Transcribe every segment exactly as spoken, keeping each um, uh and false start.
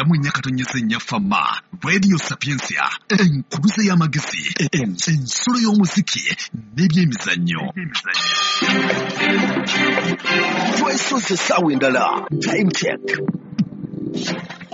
Kyenda mu nnya katonyeza ennya Fama Radio Sapientia, enkuluze y'amagezi, ensulo y'omuziki n'ebyemizannyo. Twesoze essaawa endala, time check.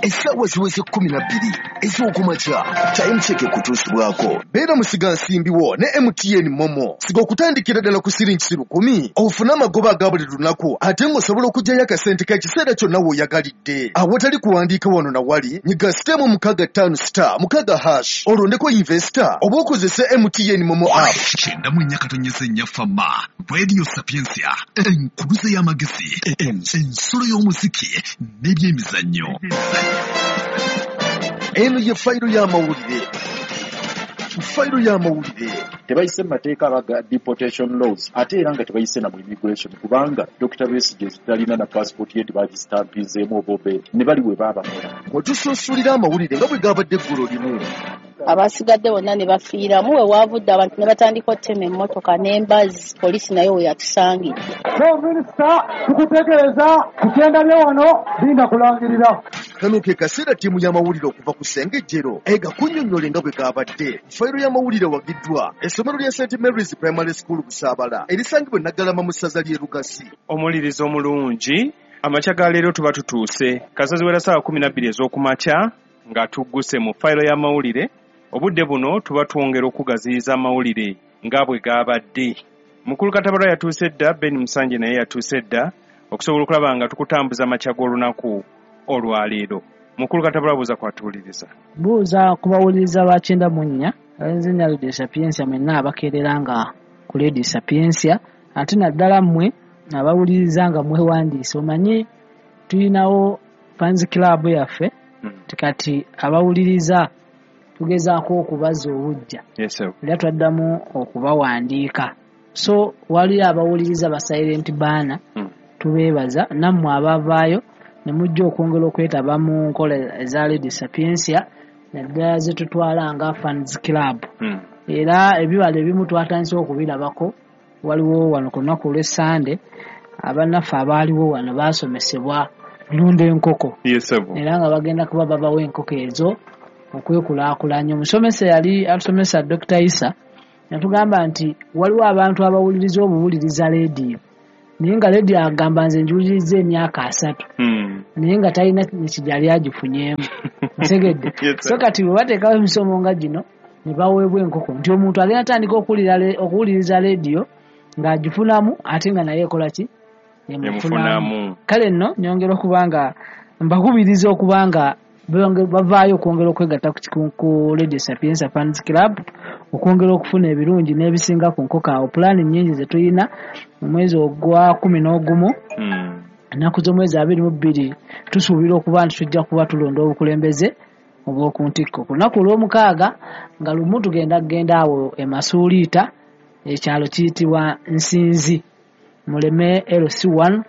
Essaawa ziweze kkumi na bbiri ez'okumakya. Time check ekutuusibwako beera musigansimbi wo ne M T N Momo. Siga okutandikira ddala ku siringi lukumi ofune amagoba aga buli lunaku, ate ng'osobola okuggyayo akasente k'ekiseera kyonna w'oyagalidde awatali kuwandiika wano na wali. Nyiga sitemu mukaaga ttaano star mukaaga hash olondeko investor oba okozese M T N Momo app. Kyenda mu nnya katonyeza ennya Fama Radio Sapientia, enkuluze y'amagezi, ensulo y'omuziki n'ebyemizannyo. Eno ye fayiro y'amawulire. Fayiro y'amawulire. Tebayise mu mateeka aga deportation laws, ate era nga tebayise na mu immigration, kubanga Dokita Besigye talina na passport ye, tebagistampinzeemu oba obedi ne bali we baabakola. Wetusunsulira amawulire nga bwe gabadde eggulo limu. Abasigadde bonna ne bafiiramu. We waavudde abantu ne batandika ottema emmotoka n'embazi, poliisi nayo we yatusangidde. Minisita, tukutegeeza ku kyenda bye wano linda kulangirira. Kano ke kaseera ttiimu y'amawulire okuva ku Ssengejjero egakunnyonnyole nga bwe gabadde. Fayiro y'amawulire wagiddwa essomero lya Saint Mary's Primary School Busaabala erisangibwa e Naggalama mu ssaza ly'e Lugasi. Omulirizo omulungi, amakya ga leero tuba tutuuse kasazi wera ssaawa kkumi na bbiri ez'okumakya nga tugguse mu fayiro y'amawulire. Obudde buno tuba twongera okugaziyiza amawulire nga bwe gabadde. Mukulu Katabalwa yatuuse dda, Ben Musanje naye yatuuse dda okusobola okulaba nga tukutambuza amakya g'olunaku olwaleero. Mukulu Katabalwa, buuza kwatuwuliriza. Buuza kubawuliriza ba kyenda mu nnya nze Radio Sapientia mwenna abakeerera nga ku Radio Sapientia, ate naddala mmwe abawuliriza nga mwewandiise. Omanyi tulinawo fans club yaffe, kati abawuliriza tugezaako okubazza obujja, era twaddamu okubawandiika. So wali abawuliriza ba silent banner, tubeebaza. Nammwe abavaayo ne mujja okwongera okwetaba mu nkola eza Radio Sapientia naddala ze tutwala nga fans club. Era ebibala ebimu twatandise okubirabako. Waliwo wano ku lunaku olw'Essande abannaffe abaaliwo wano baasomesebwa lunda enkoko, era nga bagenda kuba babawa enkoko ezo okwekulaakulanya. Omusomesa yali atusomesa Dokita Isa yatugamba nti waliwo abantu abawuliriza obuwuliriza leediyo, naye nga leediyo agamba nze njiwuliriza emyaka asatu, naye nga talina kijali agifunyeemu. Ntegedde. So kati bwe bateekawo emisomo nga gino ne baweebwa enkoko, nti omuntu agenda atandika okuwuliriza leediyo ng'agifunamu ate nga naye ekola ki, emufunamu. Kale nno nyongera okuba nga mbakubiriza okuba nga bavaayo okwongera okwegatta ku Radio Sapientia Fans Club okwongera okufuna ebirungi n'ebisinga ku nkoko. Awo pulaani nnyingi ze tulina mu mwezi ogwa kkumi n'ogumu, ennaku z'omwezi abiri mu bbiri, tusuubira okuba nti tujja kuba tulonda obukulembeze obw'oku ntikko. Ku lunaku olw'omukaaga nga lumu tugenda kugenda awo e Masuuliita, ekyalo kiyitibwa Nsinzi, Muleme L C one,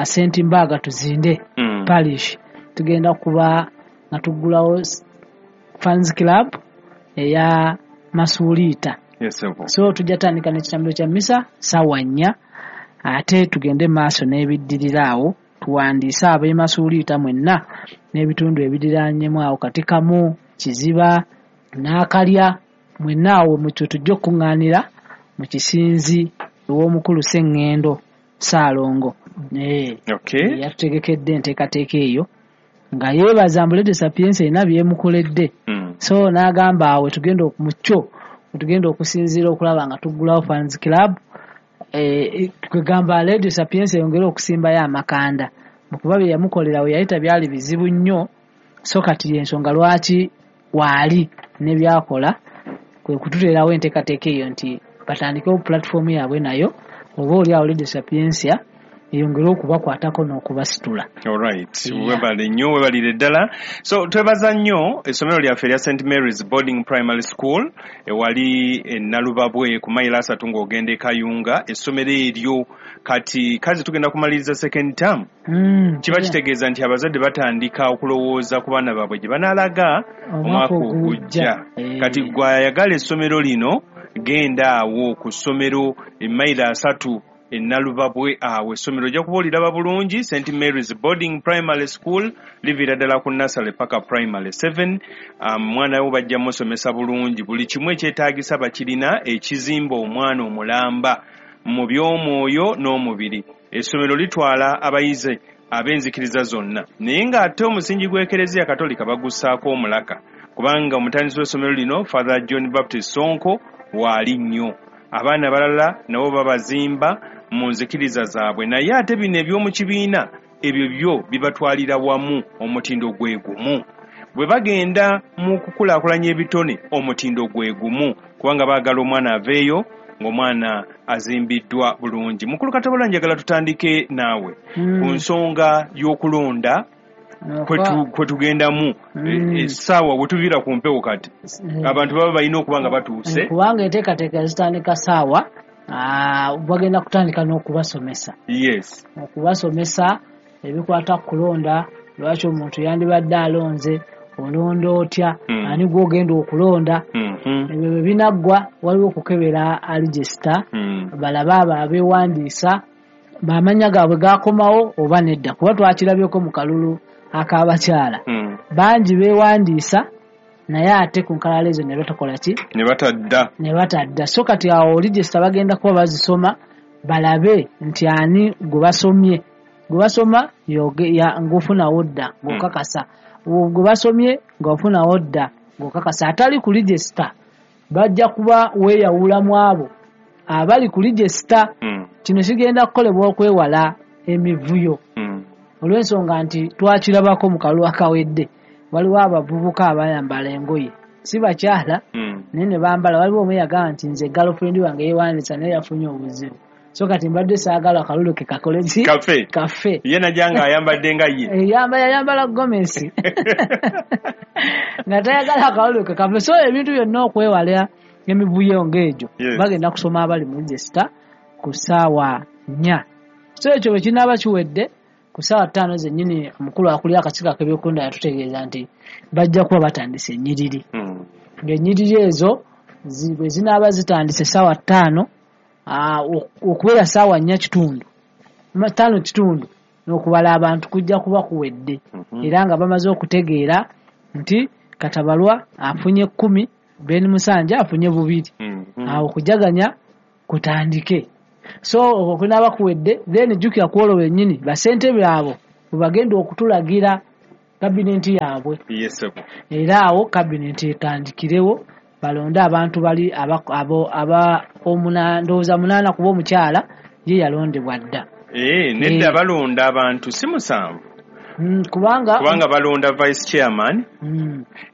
Saint Mbaga Tuzinde Parish. Tugenda kuba nga tuggulawo fans club eya Masuuliita. So tujja tandika n'ekitambiro kya misa ssaawa nnya, ate tugende maaso n'ebiddirira awo. Tuwandiise ab'e Masuuliita mwenna n'ebitundu ebiriraanyemu awo, Katikamu, Kiziba, Naakalya, mwenna awo mutyo tujja okuŋŋaanira mu kisinzi ew'omukulu Sseŋŋendo Ssaalongo. Yatutegekedde enteekateeka eyo nga yeebaza mbu Radio Sapientia erina byemukoledde. So n'agamba awo tugenda mu kyo tugenda okusinziira okulaba nga tuggulawo fans club, kwegamba Radio Sapientia eyongere okusimbayo amakanda mu kuba bye yamukolera we yayita byali bizibu nnyo. So kati y'ensonga lwaki waali ne byakola kwe kututeerawo enteekateeka eyo nti batandikewo platform yaabwe nayo oba oli awo Radio Sapientia eyongere okubakwatako n'okubasitula. Alright, webale nnyo, webalire ddala. So twebaza nnyo essomero lyaffe erya Saint Mary's Boarding Primary School ewali e Nalubabwe ku mayiro asatu ng'ogenda e Kayunga. Essomero eryo kati kazi tugenda kumaliriza second term. Mm, kiba kitegeeza nti abazadde batandika okulowooza ku baana baabwe gye banaalaga omwaka ogujja. Kati gwe ayagala essomero lino genda awo ku ssomero e mayiro asatu Nalubabwe awo essomero ojja kuba oliraba bulungi, Saint Mary's Boarding Primary School, liviira ddala ku nursery paka primary seven. Omwana um, wo bajja musomesa bulungi, buli kimu ekyetaagisa bakirina, ekizimba omwana omulamba mu by'omwoyo n'omubiri. Essomero litwala abayizi ab'enzikiriza zonna, naye ng'ate omusingi gw'Ekereziya Katolika bagussaako omulaka, kubanga omutandisi w'essomero lino Father John Baptist Sonko waali nnyo. Abaana abalala nabo babazimba mu nzikiriza zaabwe, naye ate bino eby'omu kibiina ebyo byo bibatwalira wamu omutindo gwe gumu. Bwe bagenda mu kukulaakulanya ebitone omutindo gwe gumu, kubanga baagala omwana aveeyo ng'omwana azimbiddwa bulungi. Mukulu Katabalwa, njagala tutandike naawe Mm. ku nsonga y'okulonda kwe tugendamu essaawa we tuviira ku mpewo kati abantu baba balina okuba nga batuuse, kubanga enteekateeka zitandika ssaawa, bagenda kutandika n'okubasomesa. Yes, okubasomesa ebikwata ku kulonda, lwaki omuntu yandibadde alonze, olonda otya, ani gw'ogenda okulonda. Ebyo bwe binaggwa waliwo okukebera register, balabe abo abeewandiisa bamanya gaabwe gakomawo oba nedda, kuba twakirabyeko mu kalulu ak'abakyala bangi beewandiisa naye ate ku nkalala ezo ne batakola ki, ne batadda ne batadda. So kati awo register bagenda kuba bazisoma balabe nti ani gwe basomye, gwe basoma ng'ofunawo dda ng'okakasa, gwe basomye ng'ofunawo dda ng'okakasa. Atali ku register bajja kuba weeyawula mu abo abali ku register. Kino kigenda kukolebwa okwewala emivuyo, olw'ensonga nti twakirabako mu kalulu akawedde waliwo abavubuka abayambala engoye si bakyala naye ne bambala. Waliwo omu yagamba nti nze girlfriend wange yeewandiisa naye yafunye obuzibu, so kati mbadde saagala akalulu ke kakole ki, kafe kafe. Ye najja ng'ayambadde nga ye yayambala gomesi nga tayagala akalulu ke kafe. So ebintu byonna okwewala emivuyo ng'egyo bagenda kusoma abali mu register ku ssaawa nnya. So ekyo bwe kinaaba kiwedde ku ssaawa ttaano zennyini omukulu akulira akakiiko ak'ebyokulonda yatutegeeza nti bajja kuba batandise ennyiriri, ng'ennyiriri ezo bwe zinaaba zitandise ssaawa ttaano okubeera ssaawa nnya kitundu ttaano kitundu n'okubala abantu kujja kuba kuwedde, era nga bamaze okutegeera nti Katabalwa afunye kkumi, Ben Musanja afunye bubiri, awo okujaganya kutandike. So okwo kunaaba kuwedde, then jjukira ku olwo lwennyini bassentebe abo bwe bagenda okutulagira kabinenti yaabwe. Era awo kabinenti etandikirewo balonde abantu bali abo aba ndowooza munaana, kuba omukyala ye yalondebwa dda. Nedda balonda abantu si musanvu, kubanga kubanga balonda vice chairman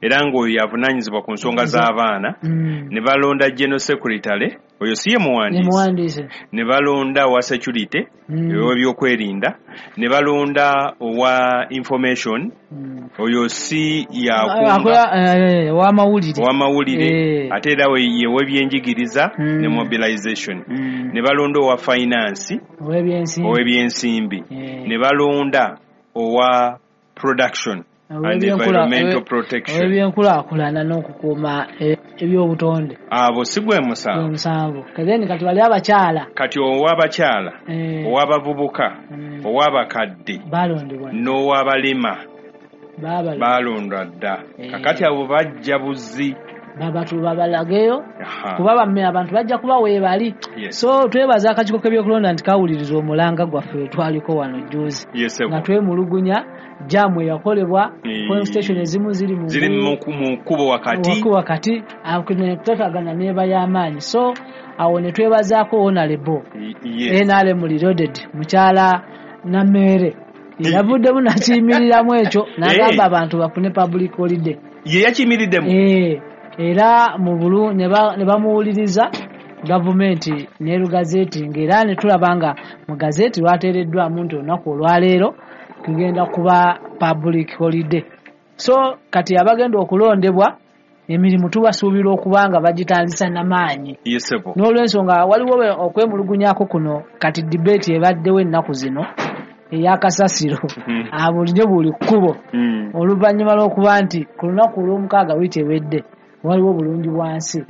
era ng'oyo yavunaanyizibwa ku nsonga z'abaana, ne balonda general secretary oyo si ye muwandiisi, ne balonda owa security ow'ebyokwerinda, ne balonda owa information oyo si yakunga ow'amawulire, ate era ye w'ebyenjigiriza ne mobilization, ne balonda owa finance ow'ebyensimbi, ne balonda owa production and environmental protection, ebyenkulaakulana n'okukuuma ebyobutonde. Abo si gwe musanvu. Musanvu. Then kati bali abakyala, kati ow'abakyala, ow'abavubuka, ow'abakadde balondebwa n'ow'abalema balondwa dda. Kakati abo bajja buzzi babatu babalageyo kuba bamme abantu bajja kuba weebali. So twebaza akakiiko k'ebyokulonda nti kawuliriza omulanga gwaffe twaliko wano jjuzi nga twemulugunya jaamu eyakolebwa, polling station ezimu ziri mu ziri mu kkubo wakati wakati kutatagana n'eba y'amaanyi. So awo ne twebazaako honorable N R M reloaded mukyala Namere yavuddemu nakiyimiriramu ekyo n'agamba abantu bafune public holiday. Ye yakiyimiriddemu era mu bulu ne bamuwuliriza gavumenti n'erugazeeti, ng'era ne tulaba nga mu gazeeti lwateereddwamu nti olunaku olwaleero tugenda kuba public holiday. So kati abagenda okulondebwa emirimu tubasuubira okuba nga bagitandisa n'amaanyi. N'olwensonga waliwo okwemulugunyako kuno kati debate ebaddewo ennaku zino ey'akasasiro abulijjo buli kkubo, oluvannyuma lw'okuba nti ku lunaku olw'omukaaga wiiki ewedde waliwo bulungi bwansi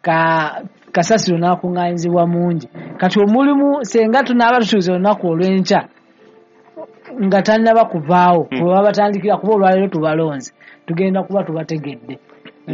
ka Kasasiro n'akuŋŋaanyizibwa mungi. Kati omulimu senga tunaaba tutuuse olunaku olw'enkya nga tannaba kuvaawo, Hmm. bwe baba batandikira kuba olwaleero tubalonze, tugenda kuba tubategedde.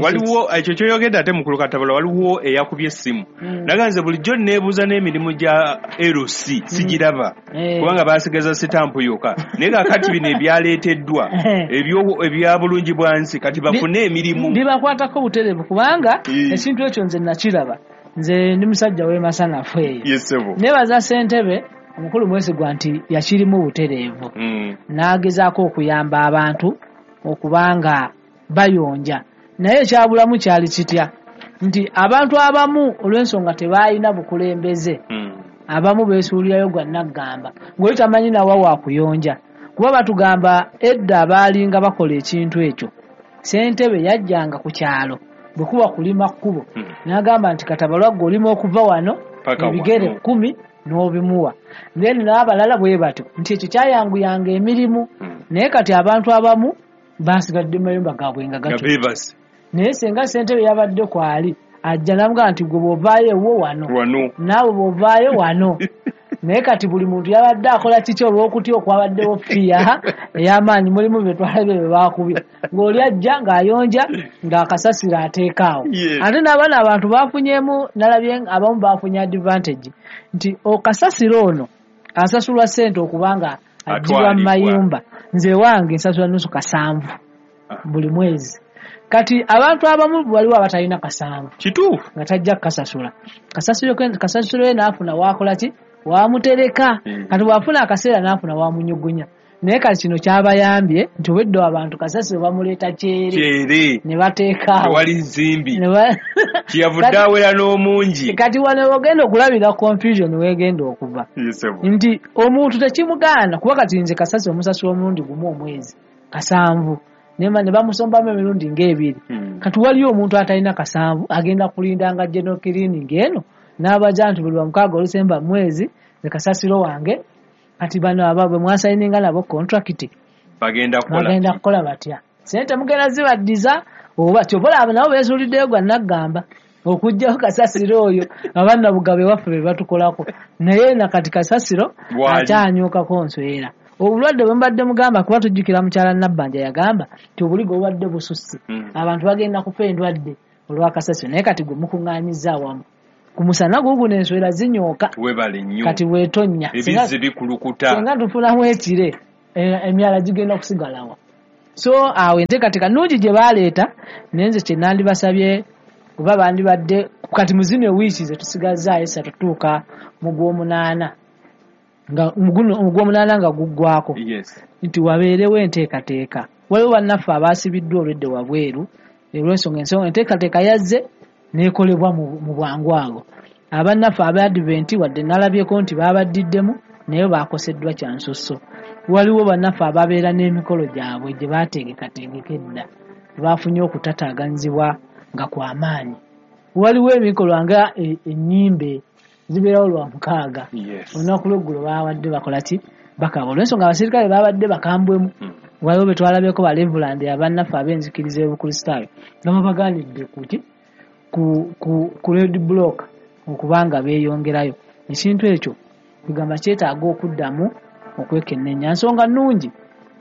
Waliwo ekyo kyoyogedde ate mukulu Katabula, waliwo eyakubye essimu Mm. naga nze bulijjo neebuuza n'emirimu gya L C sigiraba Eh. kubanga baasigaza sitampu yokka, naye kaakati bino ebyaleeteddwa ebyo ebya bulungi bwa nsi kati bafune emirimu bibakwatako butereevu kubanga Eh. ekintu ekyo nze nakiraba. Nze ndi musajja w'emasanafu eyo. Yes, ssebo. Neebaza ssentebe omukulu Mwesigwa nti yakirimu butereevu Mm. n'agezaako okuyamba abantu okubanga bayonja, naye ekyabulamu kyali kitya nti abantu abamu olw'ensonga tebalina bukulembeze, Mm. abamu beesuulirayo gwa naggamba ng'oli tamanyi nawa wa kuyonja, kuba batugamba edda abaalinga bakola ekintu ekyo ssentebe yajjanga ku kyalo bwe kuba kulima kkubo Mm. n'agamba nti Katabalwa ggwe olima okuva wano Paka ebigere wano. kkumi n'obimuwa, then n'abalala bwe batyo nti ekyo kyayanguyanga emirimu. Mm. Naye kati abantu abamu basigadde mu mayumba gaabwe nga Nga gatyo. beebase. Naye senga ssentebe yabadde kwali ajja n'amugamba nti gwe bw'ovaayo ewuwo wano, Wano. naawe bw'ovaayo wano. Naye kati buli muntu yabadde akola kiki olw'okutya okwabaddewo fiya ey'amaanyi, mulimu bye twalabye bye baakubye ng'oli ajja ng'ayonja ng'akasasiro ateeka awo. Yes. Ate n'abaana abantu baafunyeemu, nalabye abamu baafunye advantage nti okasasiro ono asasulwa ssente okubanga aggyibwa mu Atwalibwa. mayumba. Nze wange nsasula nusu kasanvu Ah. buli mwezi. Kati abantu abamu waliwo abatalina kasanvu Kituufu. nga tajja kukasasula. Kasasiro ke-, kasasiro ye n'afuna waakola ki? Waamutereka. Mm. Kati bw'afuna akaseera n'afuna waamunyugunya. Naye kati kino kyabayambye nti obwedda abantu kasasiro bamuleeta kyere. Kyere. Ne bateeka awo. Tewali nsimbi. Ne ba- Kyeyavudde Kati- awera n'omungi. Kati wano w'ogenda okulabira confusion w'egenda okuva. Yes, sir. Nti omuntu tekimugaana kuba kati nze kasasiro omusasula omulundi gumu omwezi kasanvu. Ne ba-, ne bamusombamu emirundi ng'ebiri. Hmm. Kati waliyo omuntu atalina kasanvu agenda kulindanga general cleaning eno n'abaja nti buli lwa mukaaga olusemba mwezi nze kasasiro wange. Kati bano abaabwe mwasayininga nabo contract bagenda kukola bagenda kukola batya? Ssente mugenda zibaddiza oba kyova olaba nabo beesuuliddeyo gwa naggamba okuggyawo kasasiro oyo abannabugabe waffe be batukolako, naye na kati kasasiro Bwali. akyanyukako nswera. Obulwadde bwe mbadde mugamba kuba tujjukira mukyala Nabbanja yagamba nti obuligo bubadde bususse, Mm. abantu bagenda kufa endwadde olwa kasasiro, naye kati gwe mukuŋŋaanyizza awamu ku musana guguno enswera zinyooka. Webale nnyo. Kati bw'etonnya. Ebizzi bikulukuta. Singa tufunamu ekire, e, emyala gigenda kusigalawa. So awo enteekateeka nnungi gye baaleeta, naye nze kye nandibasabye kuba bandibadde kati mu zino wiiki ze tusigazzaayo esatu tutuuka mu gw'omunaana nga mu guno, mu gw'omunaana nga guggwako. Yes. Nti wabeerewo enteekateeka. Waliwo bannaffe abaasibiddwa olwedde wabweru olw'ensonga ensonga enteekateeka yazze n'ekolebwa mu, mu bwangu ago. Abannaffe aba Advent wadde nalabyeko nti baabaddiddemu naye baakoseddwa kya nsusso. Waliwo bannaffe ababeera n'emikolo gyabwe gye baateekekateekeka edda, baafunye okutataaganyizibwa nga kwa maanyi. Waliwo emikolo nga e-, ennyimbe zibeerawo lwa mukaaga. Yes. Olunaku lw'eggulo baabadde bakola ki? Bakaba. Olw'ensonga abasirikale baabadde bakambwemu. Mm. Waliwo be twalabyeko ba Reverend abannaffe ab'enzikiriza y'Obukristaayo nga babagaanidde ku ki? Ku, ku, ku red block okubanga beeyongerayo. Ekintu ekyo kugamba kyetaaga okuddamu okwekenneenya. Nsonga nnungi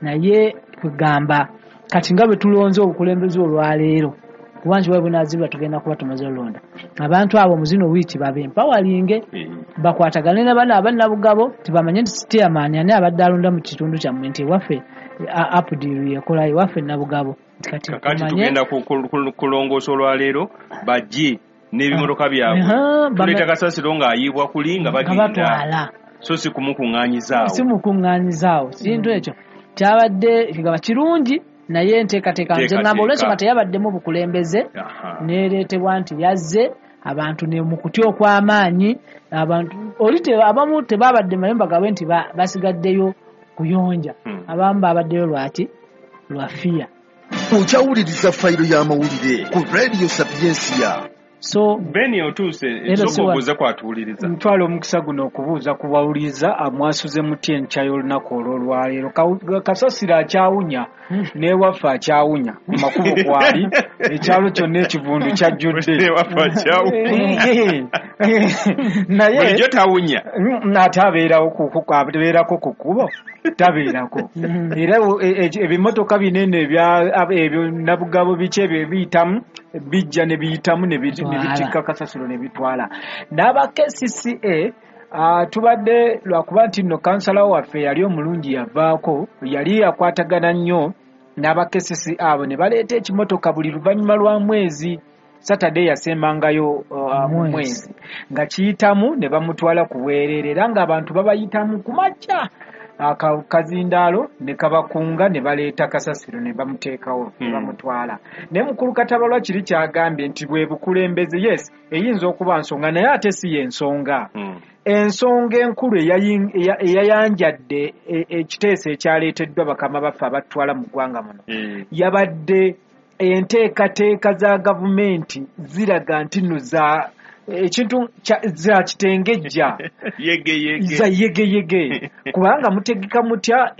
naye kugamba kati nga bwe tulonze obukulembeze olwaleero, kuba nti bwe bunaazibwa tugenda kuba tumaze olonda. Abantu abo mu zino wiiki babe empawalinge, Mm. bakwatagane na bano abannabugabo, tibamanye nti chairman ani abadde alonda mu kitundu kyammwe nti ewaffe, a-, Apdiru yekola ewaffe Nabugabo. Nti kati Kakati tumanye tugenda ku-, ku-, ku-, kulongoosa olwaleero bajje n'ebimotoka byabwe. Aha, bame- Tuleeta kasasiro ng'ayiibwa kuli nga Nga bagenda. batwala. So si kumukuŋŋaanyizaawo. Si mukuŋŋaanyizaawo. Kintu ekyo kyabadde kigaba kirungi naye enteekateeka nze Enteekateeka. ŋŋamba olw'ensonga teyabaddemu bukulembeze, Aha. n'ereetebwa nti yazze abantu ne mu kutya okw'amaanyi, abantu oli te-, abamu tebabadde mayumba gaabwe nti ba-, basigaddeyo kuyonja. Hmm. Abamu babaddeyo lwaki? Lwa fiya. Okyawuliriza fayiro y'amawulire ku Radio Sapientia. So Beni otuuse esooka obuuze kwatuwuliriza. Ntwala omukisa guno okubuuza ku bawuliriza amwasuze mutya enkya y'olunaku olw'olwaleero. Kasasiro akyawunya n'ewaffe akyawunya ku makubo kwali ekyalo kyonna ekivundu kyajjudde. Ewaffe akyawunya. Naye bulijjo tawunya. Ate abeerawo abeerako ku kkubo tabeerako. Era ebimotoka binene ebyo nabugabo biki ebyo ebiyitamu bijja ne biyitamu ne bitikka kasasiro ne bitwala. N'aba K C C A uh, tubadde lwakuba nti nno kansala waffe yali omulungi yavaako, yali akwatagana nnyo n'aba K C C A abo ne baleeta ekimotoka buli luvannyuma lwa mwezi. Saturday yasembangayo uh, mu mwezi nga kiyitamu ne bamutwala ku bwereere era ng'abantu babayitamu ku makya akazindaalo ne kabakunga ne baleeta kasasiro ne bamuteekawo ne bamutwala. Naye mukulu Katabalwa kiri kyagambye nti bwe bukulembeze, yes, eyinza okuba nsonga naye ate si y'ensonga. Ensonga enkulu eyayanjadde ekiteeso ekyaleeteddwa bakama baffe abatwala mu ggwanga muno yabadde enteekateeka za gavumenti ziraga nti nno za ekintu za kitengejja za yegeyege kubanga mutegeka mutya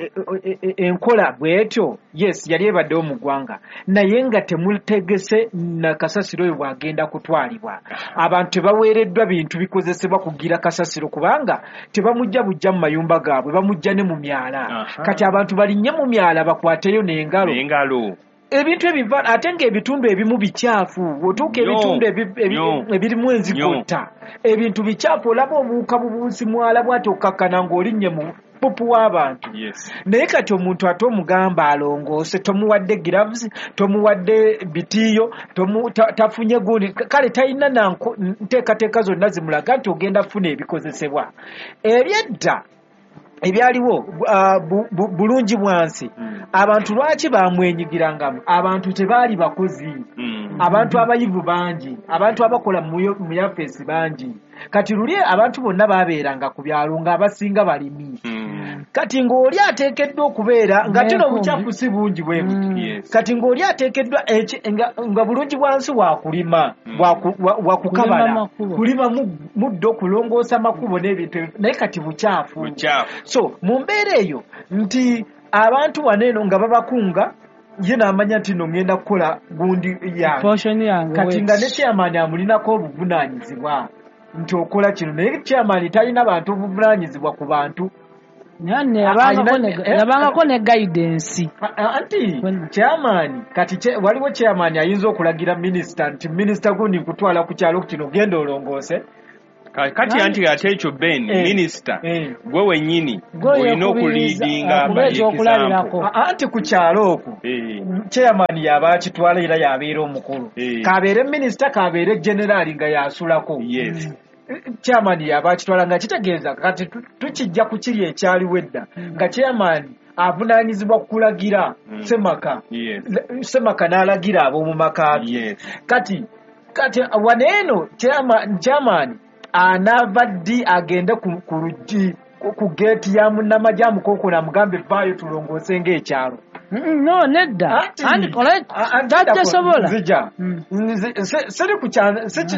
enkola bwetyo. Yes, yali ebaddewo mu ggwanga naye nga temutegese na kasasiro oyo bw'agenda kutwalibwa. Abantu tebaweereddwa bintu bikozesebwa kugira kasasiro kubanga tebamujja bujja mu mayumba gaabwe, bamujja ne mu myala. Kati abantu balinnye mu myala bakwateyo n'engalo ebintu ebiva ate ng'ebitundu ebimu bikyafu. Otuuka ebitundu ebirimu enzigotta ebintu bikyafu, olaba obuwuka bubuusi mwala bw'ati okkakkana ng'olinnye mu pupu w'abantu. Naye kati omuntu ate omugamba alongoose, tomuwadde gloves, tomuwadde bitiiyo, tafunye gundi, kale talina na nteekateeka zonna zimulaga nti ogenda funa ebikozesebwa. Ebyedda ebyaliwo bulungi bwansi, abantu lwaki bamwenyigirangamu? Abantu tebaali bakozi, abantu abayivu bangi, abantu abakola mu yafeesi bangi. Kati luli abantu bonna babeeranga ku byalo ng'abasinga balimi. Kati ng'oli ateekeddwa okubeera nga tino obukyafu si bungi bwe buti. Kati ng'oli ateekeddwa nga bulungi bwansi wakulima, wakukabala, kulima muddo, kulongoosa makubo n'ebintu, naye kati bukyafu. So mu mbeera eyo nti abantu wano eno nga babakunga, ye n'amanya nti nno ngenda kukola gundi yange. Kati nga ne chairman amulinako obuvunaanyizibwa nti okola kino, naye chairman talina bantu obuvunaanyizibwa ku bantu. Yabangako ne guidance. Anti chairman kati waliwo chairman ayinza okulagira minisita nti minisita gundi nkutwala ku kyalo kino genda olongoose. Kati anti ate ekyo Ben, minisita gwe wennyini olina okuliidinga ekyokulabirako. Anti ku kyalo okwo chairman yaba akitwala era yabeera omukulu, kabeere minisita kabeere generaali nga yasulako. Chairman yaba akitwala nga kitegeeza kati tukijja ku kiri ekyaliwo edda nga chairman avunaanyizibwa kulagira Ssemaka, Ssemaka n'alagira ab'omu maka ge. Kati kati wano eno chairman anaava ddi agende ku luggi ku geeti ya munnamagye amukonkona amugambe vaayo tulongoose ng'ekyalo? No, nedda. Tajjasobola. Nzija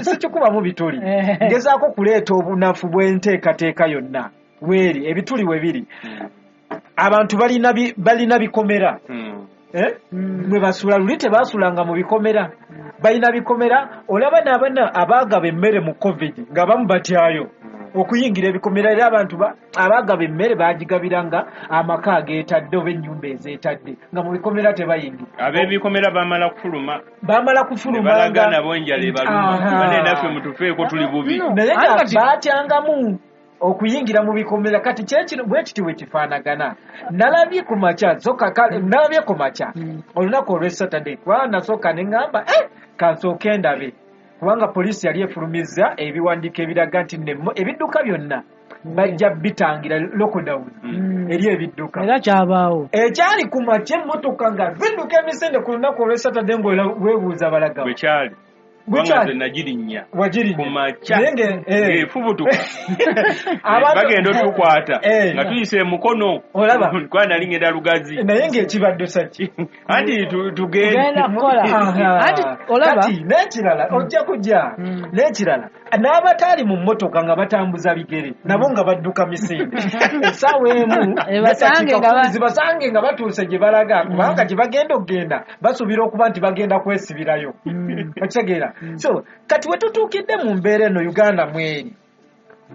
sikikubamu bituli, ngezaako kuleeta obunafu bw'enteekateeka yonna weeri ebituli we biri. Abantu balina bikomera mwe basula, luli tebasulanga mu bikomera, balina bikomera. Olaba n'abaana abaagaba emmere mu COVID nga bamu batyayo okuyingira ebikomera, era abantu abaagaba emmere baagigabiranga amaka ageetadde oba ennyumba ezeetadde nga mu bikomera tebayingira. Ab'ebikomera bamala kufuluma, bamala kufuluma balaga nabo enjala ebaluma, bane naffe mutufeeko tuli bubi, naye nga baatyangamu okuyingira mu bikomera. Kati kyekino bwe kiti bwe kifaanagana. Nalabye ku makya nalabye ku makya olunaku olw'e Saturday, kubanga nasooka ne ŋŋamba eh kansooke ndabe, kubanga poliisi yali efulumizza ebiwandiiko ebiraga nti ebidduka byonna bajja bitangira lockdown eri ebidduka. Era kyabaawo ekyali ku makya emmotoka nga zidduka emisinde ku lunaku olw'e Saturday ng'weebuuza balagawa bwe kyali. Kubanga nze nagirinnya Wagirinnya. ku makya Naye nge- eh. ng'efubutuka Abantu- bagenda otukwata Eh. nga tuyise emukono Olaba? kuba nali ngenda Lugazi Naye ng'ekibaddusa ki? anti tu- tugende Tugenda kukola. Aha. Anti olaba Kati n'ekirala ojja kujja Mm. n'ekirala n'abataali mu mmotoka nga batambuza bigere nabo nga badduka misinde essaawa emu Ebasange nga ba- zibasange nga batuuse gye balaga kubanga gye bagenda okugenda basuubira okuba nti bagenda kwesibirayo okitegeera so kati we tutuukidde mu mbeera eno Uganda mweri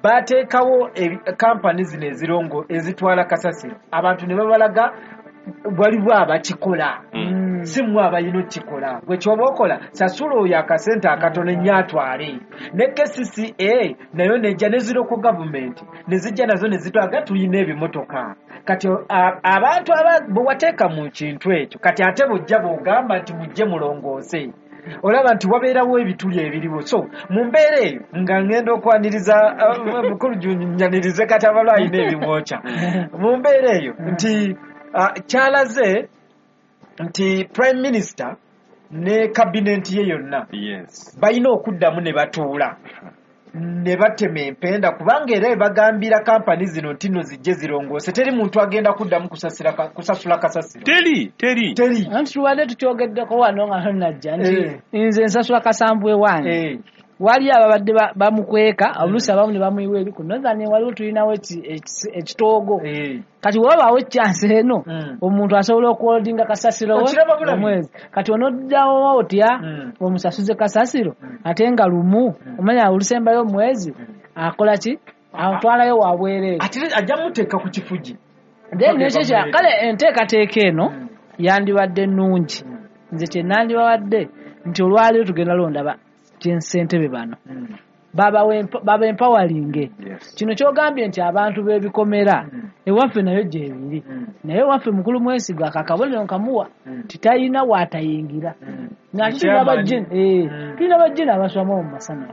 bateekawo ebi- kampani zino ezirongo ezitwala kasasiro abantu ne babalaga waliwo abakikola Mm. si mmwe abalina okukikola gwe kyoba okola sasula oyo akasente akatono ennyo atwale ne K C C A nayo nejja ne ziroko gavumenti ne zijja nazo ne zitwaga tulina ebimotoka kati a- abantu aba- bwe wateeka mu kintu ekyo kati ate bw'ojja bw'ogamba nti mujje mulongoose olaba nti wabeerawo ebituli ebiriwo so mu mbeera eyo nga ngenda okwaniriza uh, mukulu nyanirize kati abalwa alina ebimwokya mu mbeera eyo nti uh, kyalaze nti prime minister ne kabineti ye yonna Yes. balina okuddamu ne batuula ne batema empenda kubanga era ebagambira kampani zino nti nno zijje zirongoose teri muntu agenda kuddamu kusasira ka- kusasula kasasiro Teri, teri. teri Anti tubadde tukyogeddeko wano nga tonnajja nti Eh. nze nsasula kasambu ewange Eh, wali ababadde ba- bamukweka oluusi abamu ne bamuyiwa eri ku Northern waliwo tulinawo eki- eki- ekitoogo eh. kati wabaawo ecyansi eno Mm. omuntu asobola okuholdinga kasasiro we Okiraba bulabi. omwezi kati onoddawo otya Mm. omusasuze kasasiro ate nga lumu omanya olusembayo omwezi akola ki atwalayo wabwereere ate ajja muteeka ku kifugi then nekyo kya kale enteekateeka eno yandibadde nnungi nze kye nandibawadde nti olwaleero tugenda londa ba ssentebe bano baba empawalinge Yes. kino kyogambye nti abantu b'ebikomera ewaffe nayo gyebiri naye ewaffe mukulu Mwesigwa akakabonero nkamuwa titayina waatayingira ng'ate tulina Chairman. bajjini eh, Mm. tulina bajjini abaswamu mu masanafu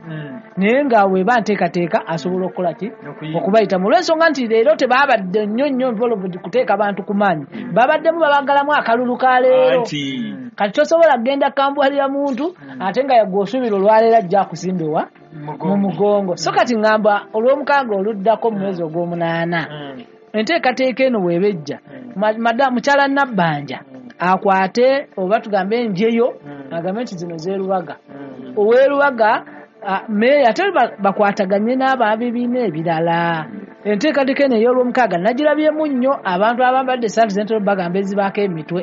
naye nga weba nteekateeka asobola okukola ki Okuyingira. okubayitamu olw'ensonga nti leero tebaabadde nnyo nnyo involved kuteeka bantu ku maanyi babaddemu babagalamu akalulu ka leero Anti. kati tosobola kugenda kambwalira muntu ate nga gwe osuubira olwaleero ajja akusimbewa mu mugongo so kati ŋŋamba olw'omukaaga oluddako mu mwezi ogw'omunaana enteekateeka eno bw'eba ejja ma- mada- mukyala Nabbanja akwate oba tugambe enjeyo agambe nti zino z'erubaga ow'erubaga ah, meeya ate ba- bakwataganye n'ababibiina ebirala enteekateeka eno ey'olwomukaaga nagirabyemu nnyo abantu abambadde essaati z'entolo bagamba ezibaako emitwe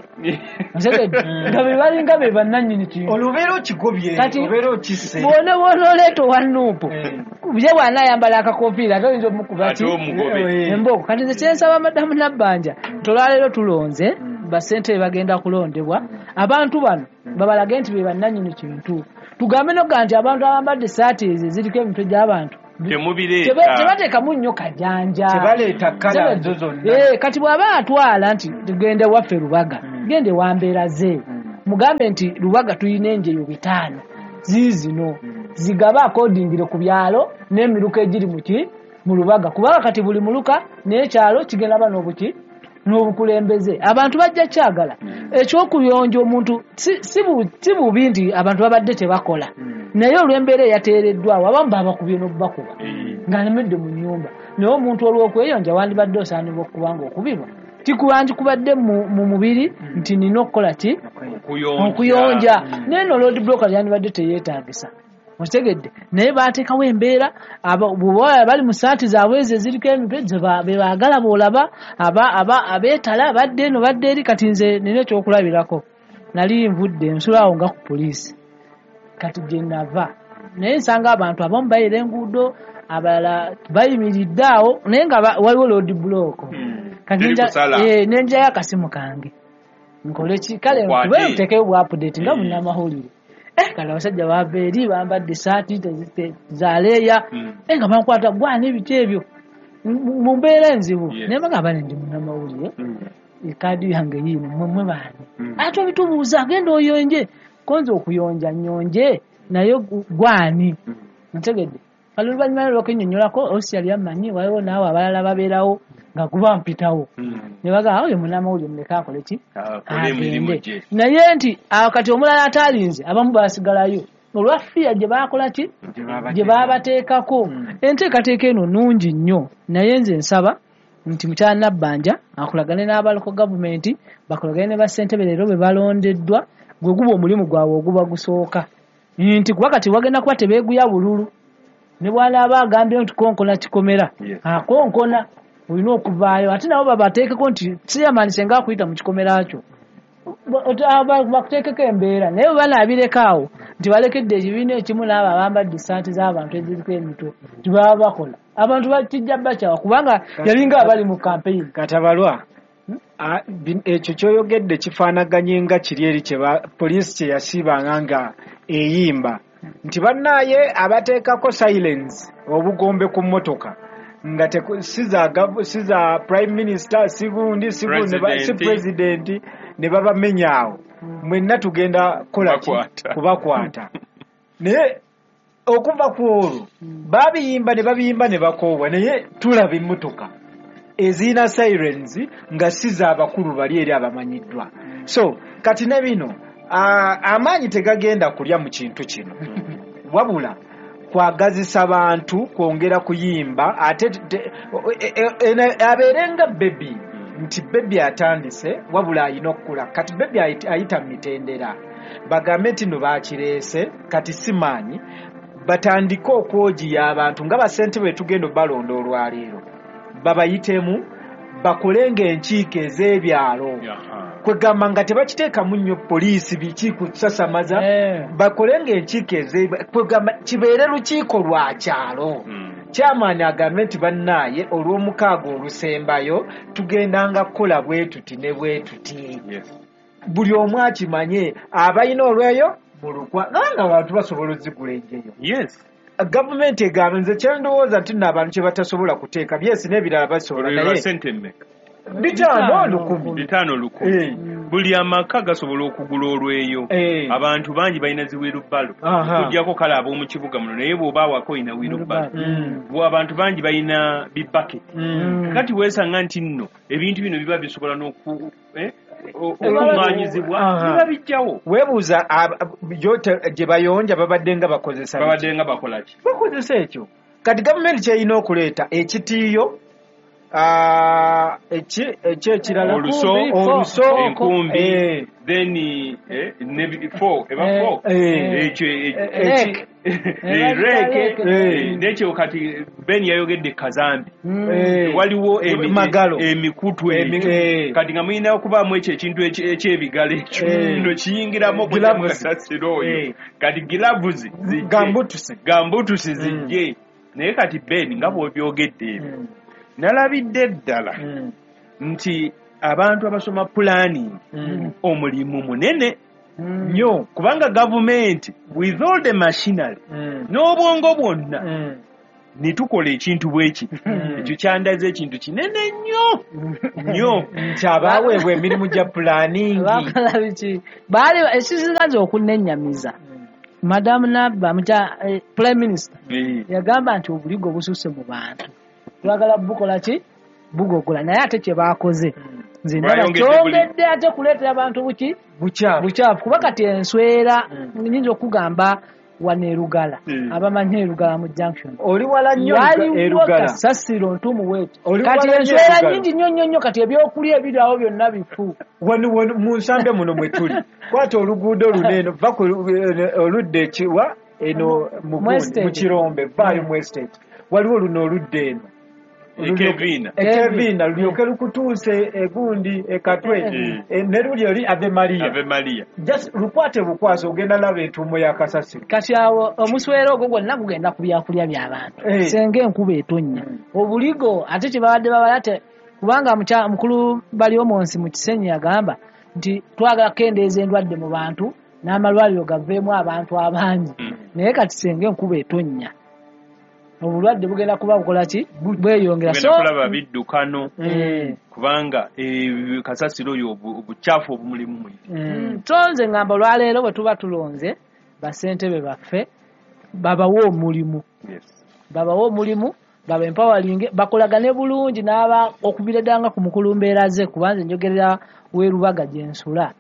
Otegedde? nga be balinga be bannannyini kintu olubeera okigobye Kati- obeera okisse bwona bwona oleeta owa nuupu Eh. ye bw'anaayambala akakofiira ate oyinza omukuba Ate ki omugobe. Eh. embooko kati nze kyensaba madamu Nabbanja nti olwaleero tulonze bassentebe bagenda kulondebwa abantu bano babalage nti be bannannyini kintu tugambe noga nti abantu abambadde essaati ezo eziriko emitwe gy'abantu teba- Temubireeta. tebateekamu nnyo kajanja Tebaleeta kkala zo zonna. Eh, kati bw'aba atwala nti tugende waffe Lubaga gende wambeera ze mugambe nti Lubaga tulina enjeyo bitaano ziizino zigabe akodingire ku byalo n'emiruka egiri muki mu Lubaga kubanga kati buli muluka n'ekyalo kigenda ba n'obuki n'obukulembeze abantu bajja kyagala ekyokuyonja omuntu si, si, bu, si bubi nti abantu babadde tebakola naye olw'embeera eyateereddwawo abamu babakubye n'obubakuba ng'alemedde mu nnyumba naye omuntu olw'okweyonja wandibadde osaanibwa okuba nga okubibwa tikuba nti kubadde mu, mu mubiri nti nina okukola ki Okuyonja. okuyonja naye no road block yandibadde teyeetagisa okitegedde naye baateekawo embeera aba- bw'oba bali mu saati zaabwe ezo eziriko emitwe ze ba- be baagala bw'olaba aba- aba- abeetala badde eno badde eri kati nze nina ekyokulabirako nali nvudde nsulaawo nga ku poliisi kati gye nava naye nsanga abantu abamu bayira enguudo abalala bayimiridde awo naye nga ba- waliwo road block kati Teri nenja- kusala. eh, nenjayo akasimu kange nkole ki kale Okwate. nkube ntekeyo bwa update nga Eh. munnamawulire eh kale abasajja bava eri bambadde esaati tezi- te- za leeya Mm. eh nga bankwata gwana ebiki ebyo M- mu mbeera enzibu Yes. naye bagamba nti ndi munnamawulire ekaadi yange yiino mmwe mmwe baani Mm. ate obitubuuza genda oyonje konza okuyonja nnyonje naye gu- gwani ntegedde kale oluvannyuma lwokennyonnyolako osi yali ammanyi waliwo naawe abalala babeerawo nga guba mpitawo ne bagamba oyo munnamawulire muleke akole ki Akole emirimu agende gye. naye nti awo kati omulala ataalinze abamu baasigalayo Olwa fiya gye baakola ki? Gye baabateekako. Enteekateeka eno nnungi nnyo, naye nze nsaba nti mukyala Nabbanja akolagane n'abaliko gavumenti, bakolagane ne bassentebe leero be balondeddwa, gwe guba omulimu gwabwe oguba gusooka. Nti kuba kati wagenda kuba tebeeguya bululu, ne bw'anaaba agambye nti konkona kikomera, akonkona olina okuvaayo, ate nabo babateekeko nti chairman senga akuyita mu kikomera kyo bakuteekeko embeera. Naye bwe banaabireka awo nti balekedde ekibiina ekimu n'abo abambadde essaati z'abantu eziriko emitwe tibaba bakola, abantu bakijja bakyawa kubanga yalinga abali mu campaign. Katabalwa, ekyo ky'oyogedde kifaanaganye nga kiri eri kye poliisi kye yasiibanga nga eyimba nti bannaaye abateekako silence obugombe ku mmotoka nga si za prime minister, si gundi, si president, ne babamenya awo mwenna tugenda kukola ki? Kubakwata. Naye okuva ku olwo babiyimba ne babiyimba ne bakoowa, naye tulaba emmotoka ezirina sirens nga si z'abakulu bali eri abamanyiddwa. So kati ne bino amaanyi tegagenda kulya mu kintu kino, wabula kwagazisa bantu kwongera kuyimba, ate abeere nga bebi nti bebi atandise wabula alina okukula. Kati bebi ayita mitendera, bagambe nti no bakireese kati si maanyi, batandike okwogiya abantu nga bassentebe tugenda obalonda olwaleero, babayitemu bakolenga enkiiko ez'ebyalo, kwegamba nga tebakiteekamu nnyo poliisi biki kusasamaza, bakolenga enkiiko ez'ebyalo, kwegamba kibeere lukiiko lwa kyalo. Chairman agambe nti bannaaye olw'omukaaga olusembayo tugendanga kukola bwe tuti ne bwe tuti, buli omu akimanye, abalina olweyo mulukwa nga abantu basobola ozigula enjeyo. Gavumenti egamba nze kyendowooza nti nno abantu kye batasobola kuteeka byesi n'ebirala basobola, naye bitaano lukumi bitaano lukumi buli amaka gasobola okugula olweyo. Abantu bangi balina zi wheelbarrow, okuggyako kale ab'omu kibuga muno, naye bw'oba awaka olina wheelbarrow. Abantu bangi balina bibaketi. Kati weesanga nti nno ebintu bino biba bisobola n'oku okuŋŋaanyizibwa biba bijjawo. Weebuuza gye bayonja babadde nga bakozesa babadde nga bakola ki? Bakozesa ekyo. Kati gavumenti ky'erina okuleeta ekitiiyo, eki ekirala oluso, oluso, enkumbi, then ne fork, eba fork, ekyo reke n'ekyo. Kati Ben yayogedde kazambi, waliwo emikutu ekyo, kati nga mulina okubaamu ekyo ekintu eky'ebigalo ekyo no kiyingiramu okujja oyo, kati gloves zijje, gambutusi zijje. Naye kati Ben nga bw'obyogedde ebyo, nalabidde ddala nti abantu abasoma planning omulimu munene nnyo, kubanga gavumenti with all the machinery n'obwongo bwonna ne tukola ekintu bweki, ekyo kyandaze ekintu kinene nnyo nnyo nti abaaweebwa emirimu gya planning bakola biki baali ekisinga nze okunnennyamiza. Madamu Nabba mukya prime minister yagamba nti obuligo bususse mu bantu, twagala bukola ki? Bugogola. Naye ate kye baakoze nze ndaba kyongedde ate kuleetera abantu buki bukyafu, kuba kati enswera nnyinza okugamba wano Erugala, abamanyi Erugala mu junction oli wala nnyo Erugala kasasiro ntumu wetu, kati enswera nnyingi nnyo nnyo nnyo, kati ebyokulya ebiri awo byonna bifu. Wano wano mu nsambe muno mwe tuli, kwata oluguudo luno eno va ku oludda ekiwa eno mu Kirombe vaayo mu estate, waliwo luno oludda eno Ekevina Ekevina lulyoke lukutuuse egundi ekatwe ne luli oli Ave Maria Ave Maria, just lukwate bukwasi ogenda laba entuumo ya kasasiro. Kati awo omuswero ogwo gwonna gugenda ku byakulya by'abantu, senga enkuba etonnya obuligo ate kye babadde babala te, kubanga mukulu Baryomunsi mu Kisenyi yagamba nti twagala kukendeeza endwadde mu bantu n'amalwaliro gaveemu abantu abangi, naye kati senga enkuba etonnya obulwadde bugenda kuba bukola ki? Bweyongera. So kulaba biddukano kubanga kasasiro oyo obucaafu obumulimu muyiti. Tonze ngamba olwaleero bwe tuba tulonze bassentebe baffe babawe omulimu, babawe omulimu, baba empowering, bakolagane bulungi n'aba okubira ddala ku mukulu mbeera ze, kubanze njogerera w'erubaga gye nsula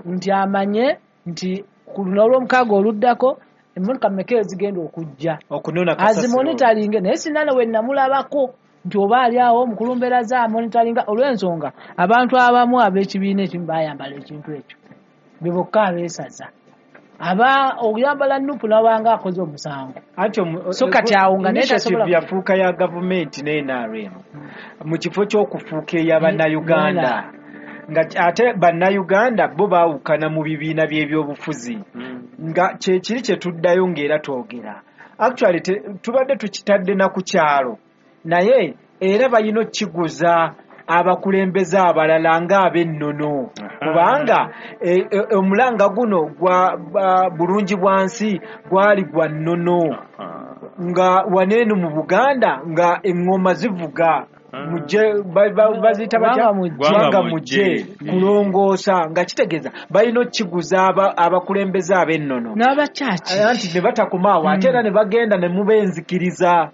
nti amanye nti ku luno olw'omukaaga oluddako Emmotoka mmeka ezigenda okujja okunona kasasiro azimonitoringe, naye sinana we namulabako nti oba ali awo omukulumberaza amonitoringa olw'ensonga abantu abamu ab'ekibiina ekimu bayambala ekintu ekyo be bokka abeesaza aba okuyambala nupu nabanga akoze omusango. Anti omu- So kati awo nga naye initiative tasobola- yafuuka ya gavumenti ne N R M mu kifo ky'okufuuka ey'abannayuganda, nga ate bannayuganda bo baawukana mu bibiina by'ebyobufuzi, nga kyekiri kye tuddayo ng'era twogera. Actually te, tubadde tukitadde na ku kyalo, naye era balina okukiguza abakulembeze abalala ng'ab'ennono, kubanga e, e, omulanga guno gwa ba, bulungi bwa nsi gwali gwa nnono, nga waneeno mu Buganda nga eŋŋoma zivuga mujje ba- ba- baziyita batya? Gwanga mujje. Gwanga mujje kulongoosa, nga kitegeeza balina okukiguza aba- abakulembeze ab'ennono n'abakyaki anti ne batakoma awo, ate era ne bagenda ne muba enzikiriza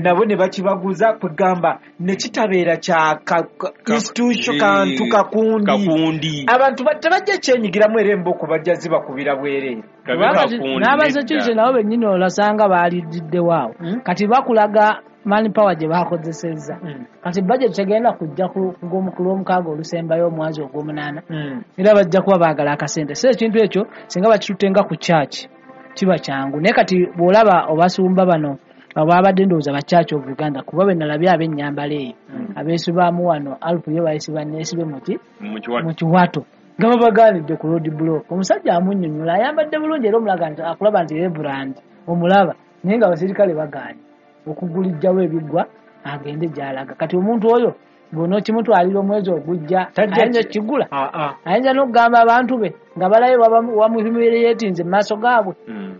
nabo ne bakibaguza, kwegamba ne kitabeera kya ka- ka- institution kantu kakundi kakundi abantu ba- tebajja kyenyigiramu, era emboko bajja zibakubira bwereere. Kabe Kubanga ti- kakundi n'abasecurity nedda. nabo bennyini olasanga baalididdewo awo. Kati bakulaga manpower gye bakozesezza. Kati budget tegenda kujja ku ku gw'omu- ku lw'omukaaga olusembayo omwezi ogw'omunaana, era bajja kuba baagala akasente. So ekintu ekyo singa bakitutte nga ku church kiba kyangu, naye kati bw'olaba obasumba bano ababadde ndowooza ba Church of Uganda, kuba be nalabye ab'ennyambala eyo abeesibaamu wano Alpu ye bayisiba neesibe muki mu kiwato mu kiwato nga babagaanidde ku road block. Omusajja amunnyonnyola ayambadde bulungi era omulaga nti akulaba nti reverend omulaba, naye nga abasirikale bagaanye okugulijjawo ebiggwa agende gy'alaga. Kati omuntu oyo bw'onookimutwalira omwezi ogujja Tajja ayinza ki- okukigula, Ah, ah. ayinza n'okugamba abantu be nga balayo wamuhumiliatinze mu maaso gaabwe.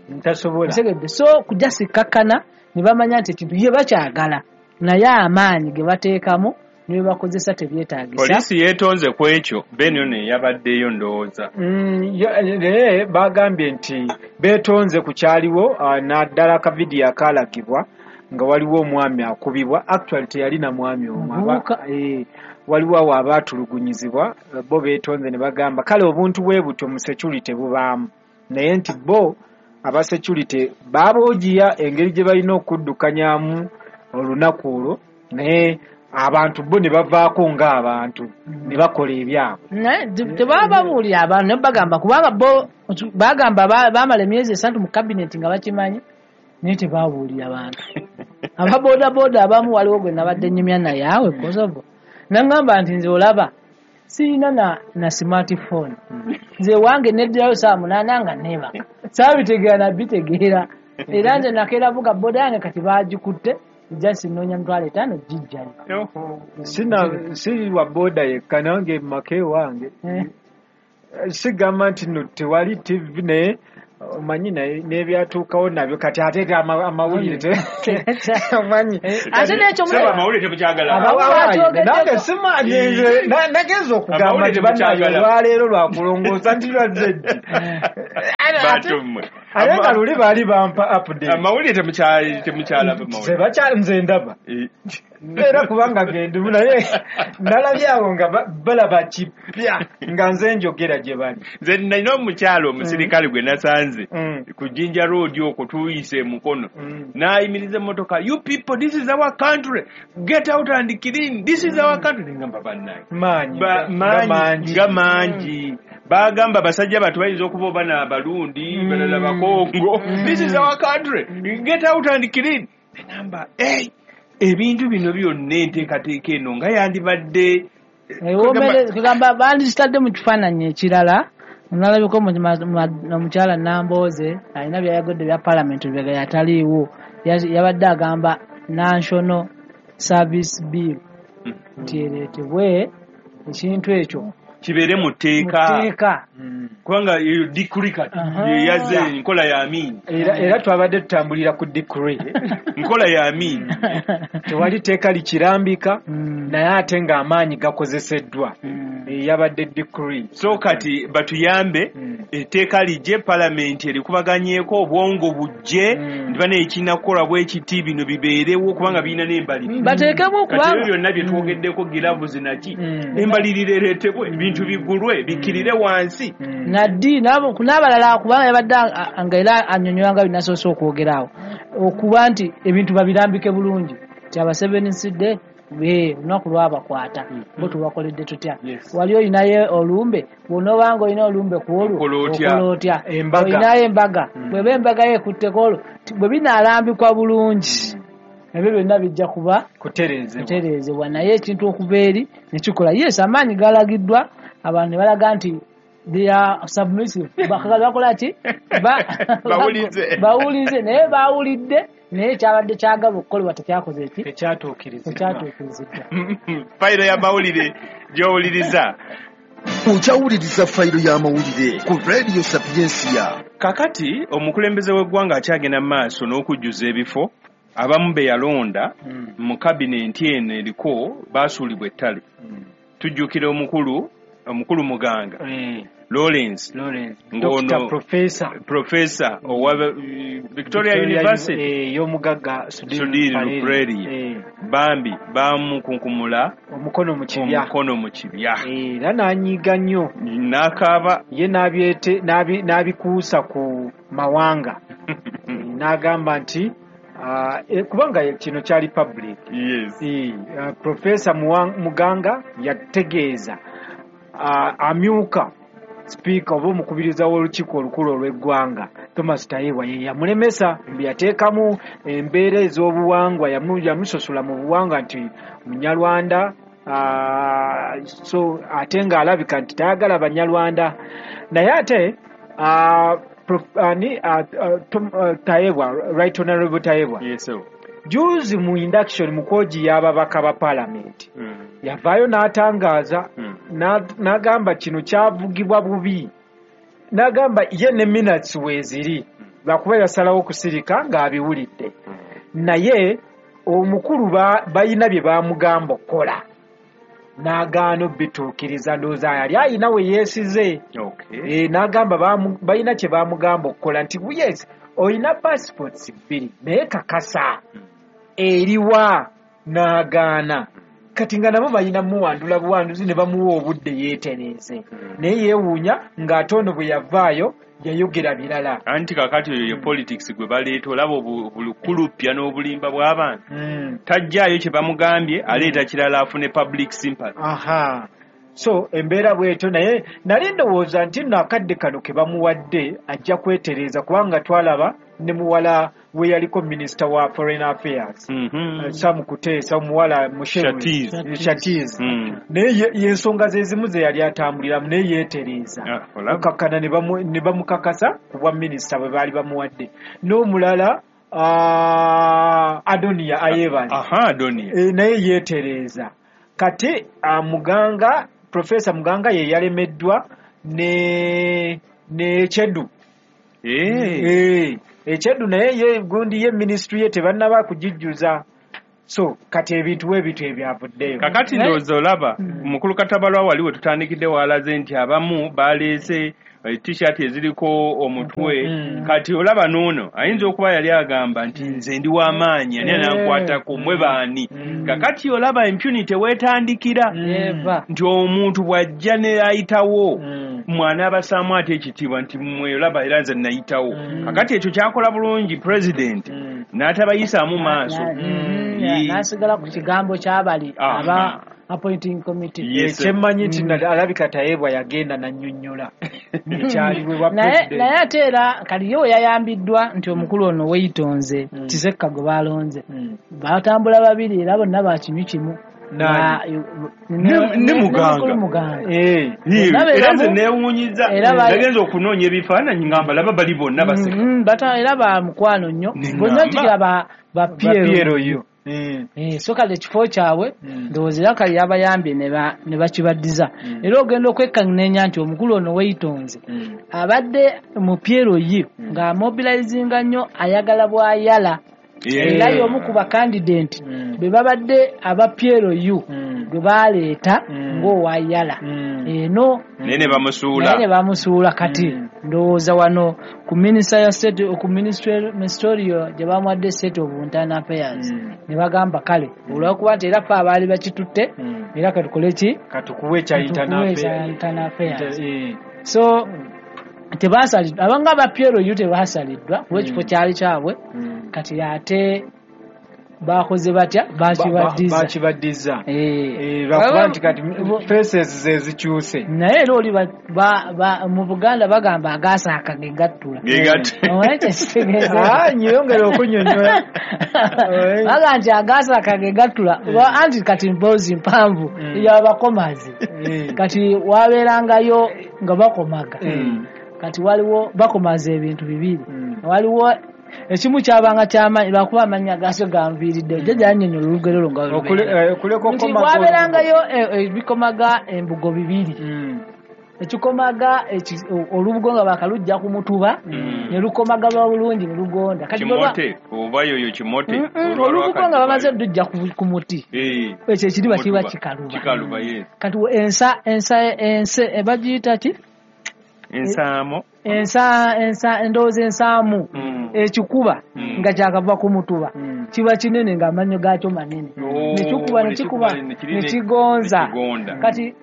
Ntasobola. Ntegedde. So kujja sikkakkana ne bamanya nti ekintu ye bakyagala, naye amaanyi ge bateekamu ne bakozesa tebyetaagisa. Poliisi yeetonze ku ekyo, Ben ono eyabaddeyo ndowooza. Mm, ya- naye bagambye nti beetonze ku kyaliwo, ah, naddala akavidiyo akaalagibwa nga waliwo omwami akubibwa. Actually teyalina mwami omwo, aba- Muvubuka. eh, waliwo awo abaatulugunyizibwa, bo beetonze ne bagamba kale obuntu bwe butyo mu security bubaamu, naye nti bo aba security baaboogiya engeri gye balina okuddukanyamu olunaku olwo, naye abantu bo ne bavaako ng'abantu ne bakola ebyabwe. Naye te- tebababuulira abantu ne bagamba, kubanga bo bagamba ba- baamala emyezi esatu mu kabineti nga bakimanyi, naye tebabuulira bantu. Ababoodabooda abamu waliwo gwe nabadde nnyumya naye awe Kosovo, nangamba nti nze olaba sirina na, na smartphone, nze wange neddirayo saa munaana nga neebaka, saabitegeera nabitegeera, era nze nakeera vuga boda yange kati baagikutte just nnoonya mitwalo etaano gijjayo. Sina siri wa boda yekka, nange mu maka ewange sigamba nti nno tewali T V, naye omanyi naye n'ebyatuukawo nabyo kati ate ama- amawulire te- omanyi Ate n'ekyo Saba amawulire temukyagala. Abamu Abawayi, bakyogeddeko. nange simanyi nze, na- nagenze okugamba Amawulire nti bannaye temukyagala. olwaleero lwakulongoosa nti lwazze ddi. Bantu mmwe. Ate nga Ama- luli baali bampa update. Amawulire temukya- temukyalaba mawulire. Tebakyali nze ndaba. Eh. Era kubanga gendimu naye nalabye awo nga ba- balaba kipya nga nze njogera gye bali. Nze nalina omukyalo omusirikale gwe nasanze Mm. ku Jinja Road okwo tuyise Mukono. Mm. N'ayimiriza emmotoka, you people, this is our country, get out and clean, this is our country. Nengamba bannange. Maanyi, Ba- nga maanyi, mangi. nga mangi. Bagamba basajja batu bayinza okuba oba n'Abarundi, balala Bakongo. This is our country, get out and clean. Nengamba, hey, ebintu bino byonna enteekateeka eno nga yandibadde Ewomere kugamba bandikitadde mu kifaananyi ekirala. Nalabiko omukyala Nambooze alina byayagodde bya parliament bye yataliiwo, yabadde agamba National Service Bill nti ereetebwe ekintu ekyo kibeere mu tteeka, tteeka. Kubanga eyo decree kati yeyaze enkola ya Amin. Era, era twabadde tutambulira ku decree. Nkola ya Amin. Tewali tteeka likirambika, naye ate ng'amaanyi gakozeseddwa. Yabadde decree. So kati batuyambe etteeka lijje, palamenti erikubaganyeeko, obwongo bujje, nti bano ekirina kukola bwe kiti, bino bibeerewo kubanga birina n'embalirira. Bateekemu Kati ebyo kubanga byonna bye twogeddeko giravuzi naki, embalirira ereetebwe ebintu Ebintu bigulwe bikirire wansi. Naddi n'abalala kubanga yabadde nga era annyonnyola nga binasoose okwogeraawo okuba nti ebintu babirambike bulungi nti abasevensidde olunaku lwabakwata bo tubakoledde tutya. Wali olinayo olumbe, bw'onoobanga olina olumbe ku olwo okola otya? Olinayo embaga, bw'eba embaga yo ekutteko olwo bwe binaalambikwa bulungi ebyo byonna bijja kuba kutereezebwa. Naye ekintu okuva eri ne kikola, yes, amaanyi galagiddwa abantu ne balaga nti they are submissive, bakola ki? Bawulize, naye bawulidde naye kyabadde kyagala okukolebwa tekyakoze eki tekyatuukiriziddwa. Fayiro y'amawulire gy'owuliriza. Okyawuliriza fayiro y'amawulire ku Radio Sapiensia. Kakati omukulembeze w'eggwanga akyagenda mu maaso n'okujjuza ebifo abamu be yalonda mu kabinenti eno eriko baasuulibwa ettale. Tujjukira omukulu omukulu Muganga Lawrence Doctor Professor Professor owa Victoria University ey'omugagga Sudhir Ruparelia bambi bamukunkumula omukono mu kibya omukono mu kibya era n'anyiiga nnyo n'akaaba ye n'abyete n'abikuusa ku mawanga n'agamba nti kubanga kino kyali public. Yes. Professor Muganga yategeeza amyuka sipiika oba omukubiriza w'olukiiko olukulu olw'eggwanga Thomas Tayebwa ye yamulemesa, yateekamu embeera ez'obuwangwa, yamusosola mu buwangwa nti Munyarwanda, so ate ng'alabika nti tayagala Banyarwanda. Naye ate Tayebwa, Right Honorable Tayebwa, juzi mu induction mu kwogi y'ababaka ba parliament yavaayo n'atangaaza n'agamba kino kyavugibwa bubi, n'agamba ye ne minutes weeziri lwakuba yasalawo okusirika ng'abiwulidde, naye omukulu balina bye baamugamba okukola n'agaana obituukiriza. Ndowooza yali ayina we yeesize n'agamba balina kye baamugamba okukola nti yes olina passports bbiri naye kakasa eriwa, n'agaana. Kati nga nabo balina muwandula buwanduzi ne bamuwa obudde yeetereeze, naye yeewuunya ng'ate ono bwe yavaayo yayogera birala. Anti kakati oyo ye politics gwe baleeta, olaba obulukulupya n'obulimba bw'abantu. Tajjaayo kye bamugambye, aleeta kirala afune public sympathy. Aha. So embeera bw'etyo, naye nali ndowooza nti nno akadde kano ke bamuwadde ajja kwetereeza kubanga twalaba ne muwala we yaliko minisita wa foreign affairs Sam Kuteesa, omuwala Shatiz, naye y'ensonga ze zimu ze yali atambuliramu naye yeetereeza okakkana ne bamukakasa ku bwa minisita bwe baali bamuwadde. N'omulala Adonia Ayebale naye yeetereeza. Kati Muganga, Professor Muganga ye yalemeddwa ne ne Chedu. Eh. Echedu naye ye gundi ye ministry ye tebannaba kugijjuza. So kati ebintu ebintu ebyavuddeyo. Kakati ndowooza olaba mukulu Katabalwa wali we tutandikidde walaze nti abamu baleese t-shirt eziriko omutwe. Kati olaba n'ono ayinza okuba yali agamba nti nze ndi w'amaanyi ani anankwatako mmwe baani. Kakati olaba impunity weetandikira nti omuntu bw'ajja ne ayitawo mwana abasaamu ate ekitiibwa nti mmwe olaba era nze nayitawo. Kakati ekyo kyakola bulungi president n'atabayisaamu maaso n'asigala ku kigambo ky'abali aba appointing committee. Kyemmanyi nti alabika Tayebwa yagenda nannyonnyola ekyaliwo. Naye ate era kali ye we yayambiddwa nti omukulu ono weeyitonze Kisekka gwe baalonze batambula babiri era bonna bakinywi kimu ne Muganga. Era nze neewuunyiza nagenza okunoonya ebifaananyi nga mbalaba bali bonna baseka era ba mukwano nnyo bonna jjukira ba Piero yo. So kale ekifo kyabwe ndowooza era kale yabayambye ne bakibaddiza. Era ogenda okwekkanneenya nti omukulu ono weeyitonze abadde mu Piero ye ng'amobilizinga nnyo ayagala bw'ayala Era y'omu ku bakandidenti be babadde aba P L U gwe baleeta ng'owayala eno naye ne bamusuula naye ne bamusuula. Kati ndowooza wano ku minisita ya state ku ministerial gye bamuwadde state of internal affairs ne bagamba kale olw'okuba nti era ffe abaali bakitutte era katukole ki katukuwe ekya internal affairs. So tebasaliddwa abanga aba P L U tebasaliddwa kuba ekifo kyali kyabwe. Kati ate bakoze batya bakibaddiza bakibaddiza lwakuba nti kati faces ze zikyuse. Naye era oli mu Buganda bagamba agasaaka ge gattula. Omanyi kyekitegeeza? Nyongera okunyonnyola. Baga nti agasaaka ge gattula anti kati mboozi mpanvu y'abakomazi. Kati wabeerangayo nga bakomaga. Kati waliwo bakomaza ebintu bibiri. Waliwo ekimu kyabanga kyamaanyi lwakuba amannya gaasyo ganviiridde jjajja yannyonnyola olugero olwo nga nti wabeerangayo ebikomaga embugo bibiri. Ekikomaga olubugo nga bakalujja ku mutuba ne lukomaga bulungi ne lugonda. Kati kimote oba yoyo kimote olubugo nga bamaze lujja ku muti ekyo ekiriba kiba kikaluba. Kati ensa ensa ense bagiyita ki? Ensaamo ensa ensa endowooza ensaamu ekikuba nga kyakava ku mutuba kiba kinene ng'amannyo gaakyo manene nekikuba nekikuba nekigonza. Kati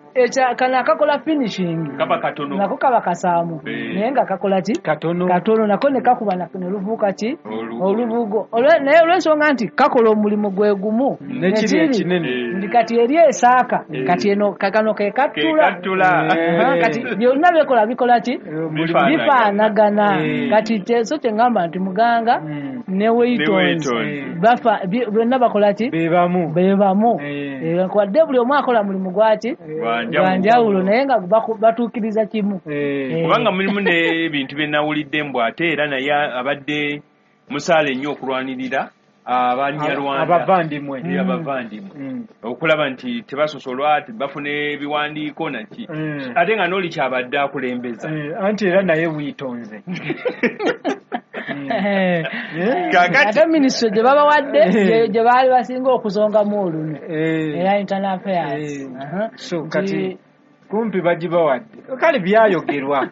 kano akakola finishing nako kaba kasaamu naye nga kakola ki katono nako ne kakuba ne luvuuka ki olubugo. Naye olw'ensonga nti kakola omulimu gwe gumu nekiri ekinene nti kati eri esaaka kati eno kano ke kattula kati byonna byekola bikola ki bifaanagana. Kati so kye ŋŋamba nti Muganga ne Waytons byonna bakola ki bebamu wadde buli omu akola mulimu gwaki gwanjawulo naye nga batuukiriza kimu. Kubanga mulimu n'ebintu bye nawulidde mbu ate era naye abadde musaale ennyo okulwanirira Abanyarwanda abavandimwe abavandimwe okulaba nti tebasosolwa bafuna ebiwandiiko naki ate nga n'oli kyabadde akulembeza anti era naye wiitonze. Ate minisitule gye babawadde gye baali basinga okusongamu olunwe era internal affairs. So kati kumpi bagibawadde kale byayogerwa.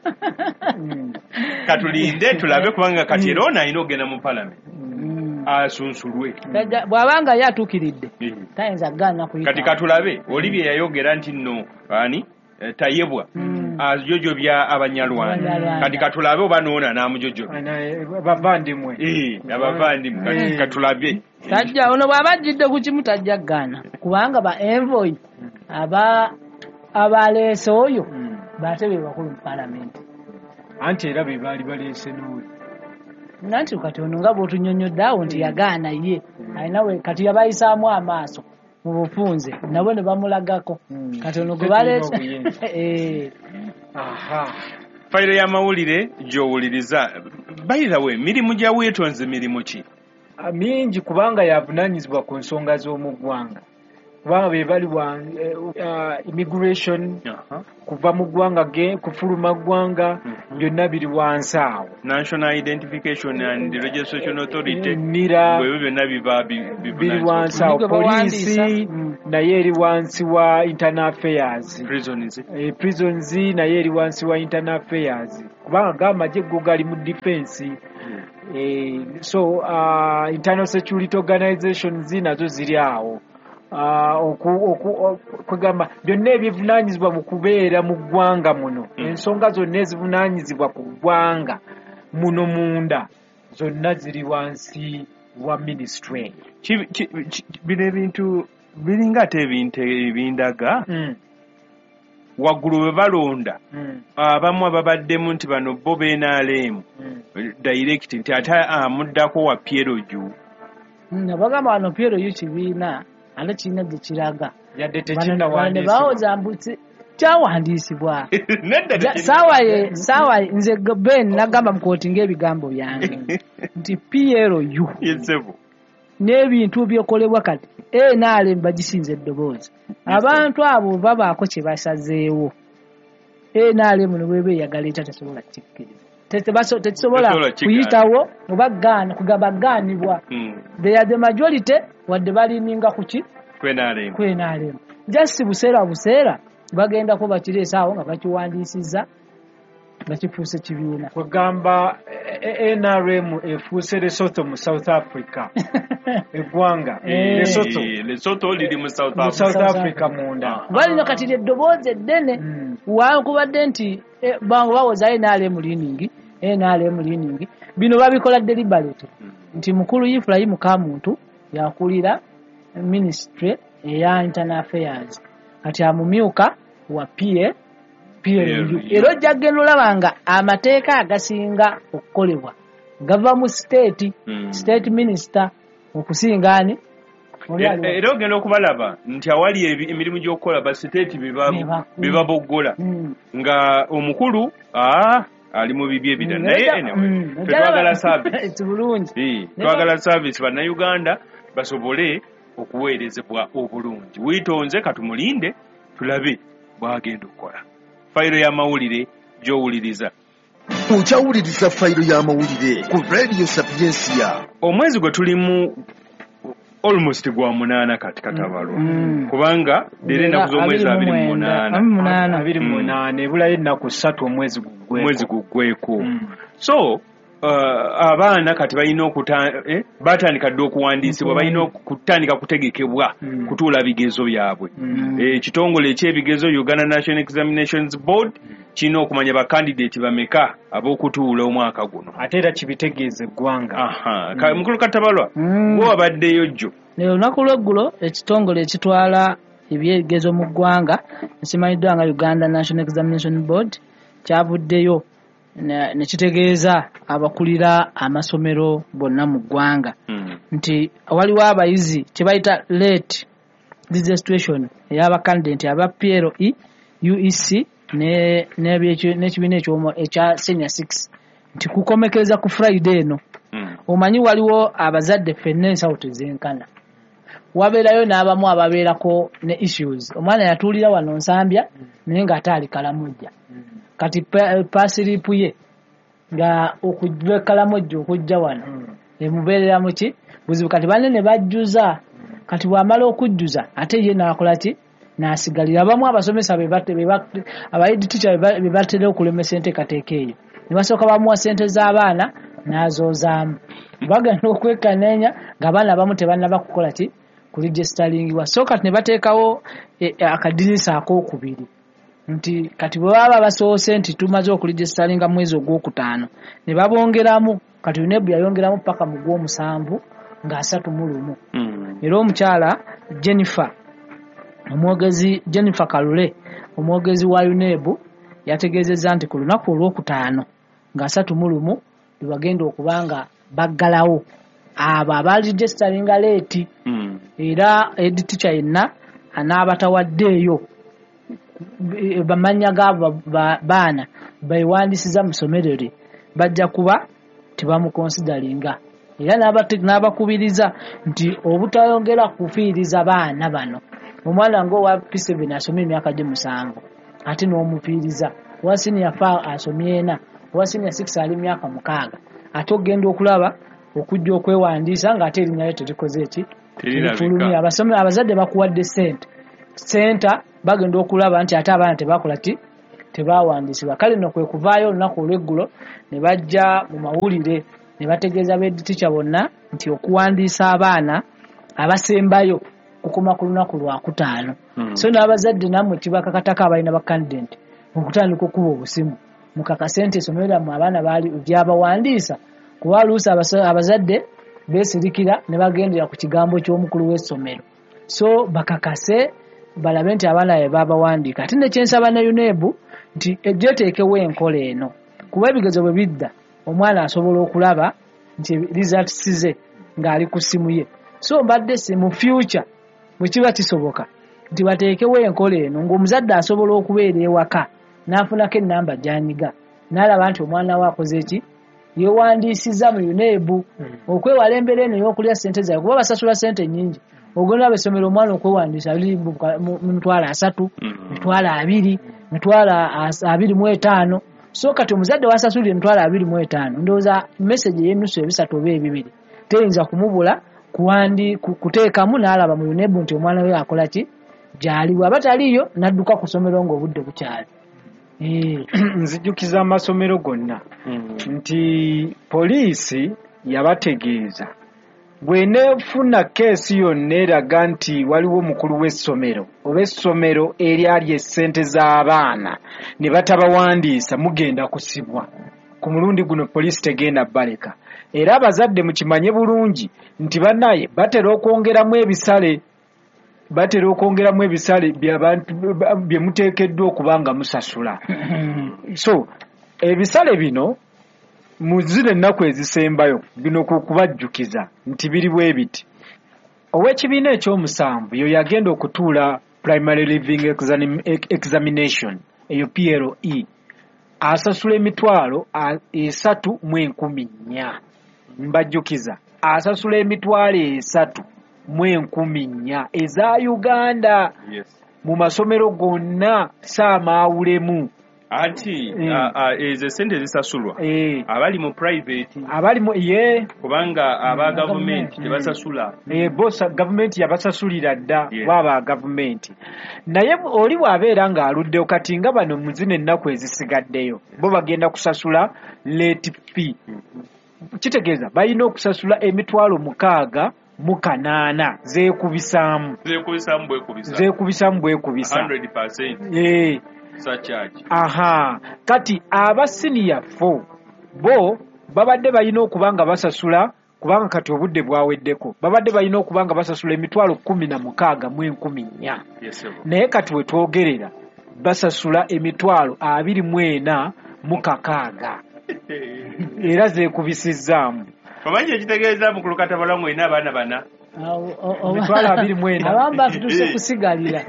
Katulinde tulabe kubanga kati era ono alina okugenda mu palamenti asunsulwe bw'abanga ye atuukiridde tayinza kugaana kuyita. Kati katulabe oli bye yayogera nti nno ani Tayebwa ajojobya Abanyarwanda. Kati katulabe oba noona n'amujojobya abavandimwe abavandimwe kati katulabe tajja ono bw'aba ajjidde ku kimu tajja kugaana kubanga ba envoy aba abaleese oyo bate be bakulu mu palamenti anti era be baali baleese n'oyo. Nanti kati ono nga bw'otunnyonnyodde awo nti yagaana ye alina we kati yabayisaamu amaaso mu bufunze nabo ne bamulagako kati ono gwe baleese. Fayiro y'amawulire gy'owuliriza. By the way, mirimu gya Waytons mirimu ki? Mingi kubanga yavunaanyizibwa ku nsonga z'omu ggwanga kubanga be bali wa immigration kuva mu ggwanga kufuluma ggwanga byonna biri wansi awo. National Identification and Registration Authority nira bwe byonna biba biri wansi awo. Poliisi naye eri wansi wa internal affairs. Prisons prisons naye eri wansi wa internal affairs kubanga g'amagye go gali mu defense. So internal security organizations nazo ziri awo. Kwegamba byonna ebivunaanyizibwa mu kubeera mu ggwanga muno ensonga zonna ezivunaanyizibwa ku ggwanga muno munda zonna ziri wansi wa ministry. Bino ebintu biringa ate ebintu ebindaga waggulu bwe balonda abamu ababaddemu nti bano bo B N R M direct nti ate amuddako wa P L U. Nabagamba wano P L U kibiina ate kirina gye kiraga yadde tekinnawandiisibwa bawoza mbu kyawandiisibwa. Saawa nze Ben nagamba mukootinga ebigambo byange nti P L U n'ebintu byokolebwa kati N R M bagisinze eddoboozi. Abantu abo babaako kye basazeewo N R M ne bweba eyagala etya tesobola kukikkiriza. Tekisobola kuyitawo oba gaana kugamba gaanibwa. They are the majority wadde balininga kuki ku N R M. Ku N R M. Just buseera buseera bagendako bakireese awo nga bakiwandiisizza nga kifuuse kibiina. Kwegamba N R M efuuse Lesotho mu South Africa. Eggwanga Lesotho. Lesotho liri mu South Africa. South Africa munda. Balina kati eddoboozi eddene wankubadde nti bawoza N R M leaning, N R M leaning. Bino babikola deliberate. Nti mukulu Ibrahim Kamuntu yakulira ministry eya internal affairs. Kati amumyuka wa P A P L U. Era ojja kugenda olaba nga amateeka agasinga okukolebwa gava mu state, state minister okusinga ani. Era ogenda okubalaba nti awali emirimu gy'okukola ba state bebaboggola nga omukulu ali mu bibi ebirala. Naye anyway twagala service bulungi, twagala service bannayuganda basobole okuweerezebwa obulungi. Wiitonze katumulinde tulabe bw'agenda okukola. Fayiro y'amawulire gy'owuliriza. Okyawuliriza fayiro y'amawulire ku Radio Sapientia. Omwezi gwe tulimu almost gwa munaana kati katabalwa. Mm. Kubanga leero ennaku z'omwezi abiri mu munaana. Abiri mu munaana ebulayo ennaku ssatu omwezi guggweko. Omwezi guggweko. So uh, abaana kati balina okuta eh, batandika dda okuwandiisibwa, balina okutandika kutegekebwa mm. kutuula bigezo byabwe. Ekitongole mm. ekyebigezo Uganda National Examinations Board kirina okumanya bakandidate bameka ab'okutuula omwaka guno. Ate era kibitegeeza eggwanga. Aha, mm. Mukulu Katabalwa, mm. gwe wabaddeyo jjo. Olunaku lw'eggulo ekitongole ekitwala ebyebigezo mu ggwanga ekimanyiddwa nga Uganda National Examination Board kyavuddeyo ne kitegeeza abakulira amasomero bonna mu ggwanga mm. nti waliwo abayizi kye bayita late registration ey'abakandidate aba P L E, U E C n'ekibiina ekya senior six nti kukomekereza ku Friday eno. Mm. Omanyi waliwo abazadde ffenna ensawo tezenkana, wabeerayo n'abamu ababeerako ne issues. Omwana yatuulira wano Nsambya naye ng'ate ali Kalamojja. Kati pasiripu ye nga okujja Kalamojja okujja wano emubeerera mu ki buzibu. Kati banne ne bajjuza, kati bw'amala okujjuza ate ye n'akola ki n'asigalira. Abamu abasomesa be aba head teacher be batera okulemesa enteekateeka eyo ne basooka bamuwa ssente z'abaana n'azoozaamu. Bagenda okwekanneenya ng'abaana abamu tebannaba kukola ki kuregisteringibwa. So kati ne bateekawo akadirisa akookubiri nti kati bwe baba basoose nti tumaze okuregistaringa mwezi ogwokutaano ne babongeramu. Kati UNEB yayongeramu paka mu gw'omusanvu nga asatu mu lumu. Era omukyala Jennifer omwogezi Jennifer Kalule omwogezi wa UNEB yategeezezza nti ku lunaku olwokutaano nga asatu mu lumu lwe bagenda okuba nga baggalawo abo abaregistaringa late. Era head teacher yenna anaabatawaddeeyo bamannya gaabo baana beewandiisiza mu ssomero lye bajja kuba tebamukonsidaringa. Era n'abakubiriza nti obutayongera kufiiriza baana bano. Omwana ng'owa P seven asomye emyaka gye musanvu ate n'omufiiriza, owa senior four asomye ena, owa senior six ali myaka mukaaga, ate ogenda okulaba okujja okwewandiisa ng'ate erinnya lye terikoze ki terifulumye. Abazadde bakuwadde ssente senta bagenda okulaba nti ate abaana tebakola ki tebawandiisibwa. Kale nno kwe kuvaayo olunaku olw'eggulo ne bajja mu mawulire ne bategeeza ba head teacher bonna nti okuwandiisa abaana abasembayo kukoma ku lunaku lwakutaano. So n'abazadde nammwe kibakakatako abalina bakandidate okutandika okuba obusimu mukakase nti essomero lyammwe abaana baali lyabawandiisa, kuba oluusi abazadde beesirikira ne bagendera ku kigambo ky'omukulu w'essomero. So bakakase balabe nti abaana be babawandiika. Ate nekyensaba ne UNEB nti ejjeteekewo enkola eno, kuba ebigezo bwe bidda omwana asobola okulaba nti results ze ng'ali ku ssimu ye. So mbadde si mu future bwe kiba kisoboka nti bateekewo enkola eno ng'omuzadde asobola okubeera ewaka n'afunako ennamba gy'anyiga n'alaba nti omwana we akoze ki yeewandiisizza mu UNEB, okwewala embeera eno ey'okulya ssente zaabwe kuba basasula ssente nnyingi. Ogenda ab'essomero omwana okwewandiisa ali mu mitwalo asatu, mitwalo abiri, mitwalo abiri mu etaano. So kati omuzadde wasasulira emitwalo abiri mu etaano, ndowooza message ey'ennusu ebisatu oba ebibiri teyinza kumubula kuwandi kuteekamu n'alaba mu UNEB nti omwana we akola ki gy'ali, bw'aba taliiyo n'adduka ku ssomero ng'obudde bukyali. Nzijukiza amasomero gonna nti poliisi yabategeeza bw'eneefuna keesi yonna eraga nti waliwo omukulu w'essomero oba essomero eryali essente z'abaana ne batabawandiisa, mugenda kusibwa. Ku mulundi guno poliisi tegenda baleka. Era abazadde mukimanye bulungi nti bannaye batera okwongeramu ebisale, batera okwongeramu ebisale by'abantu bye muteekeddwa okuba nga musasula. So ebisale bino mu zino ennaku ezisembayo bino ku kubajjukiza nti biri bwe biti. Ow'ekibiina ekyomusanvu yo yagenda okutuula primary living examination eyo P L E asasula emitwalo esatu mu enkumi nnya. Mbajjukiza asasula emitwalo esatu mu enkumi nnya eza Uganda. Yes. Mu masomero gonna saamaawulemu. Anti mm. ezo sente zisasulwa e. abali mu private, abali mu ye kubanga aba gavumenti mm. tebasasula. E, bosa gavumenti yabasasulira dda. Yes. Baba gavumenti naye oli bw'abeera ng'aluddeyo kati nga bano mu zino ennaku ezisigaddeyo bo bagenda kusasula late fee. Mm. Kitegeeza balina okusasula emitwalo mukaaga mu kanaana zeekubisaamu zeekubisaamu bwekubisa zeekubisaamu bwekubisa one hundred percent. Eh. Surcharge. Aha, kati aba senior four bo babadde balina okuba nga basasula, kubanga kati obudde bwaweddeko, babadde balina okuba nga basasula emitwalo kkumi na mukaaga mu enkumi nnya. Yes, naye kati we twogerera basasula emitwalo abiri mu ena mu kakaaga era zeekubisizzaamu. Omanyi ekitegeeza mukulu Katabala ng'olina abaana bana emitwalo abiri mu ena abamu batuuse kusigalira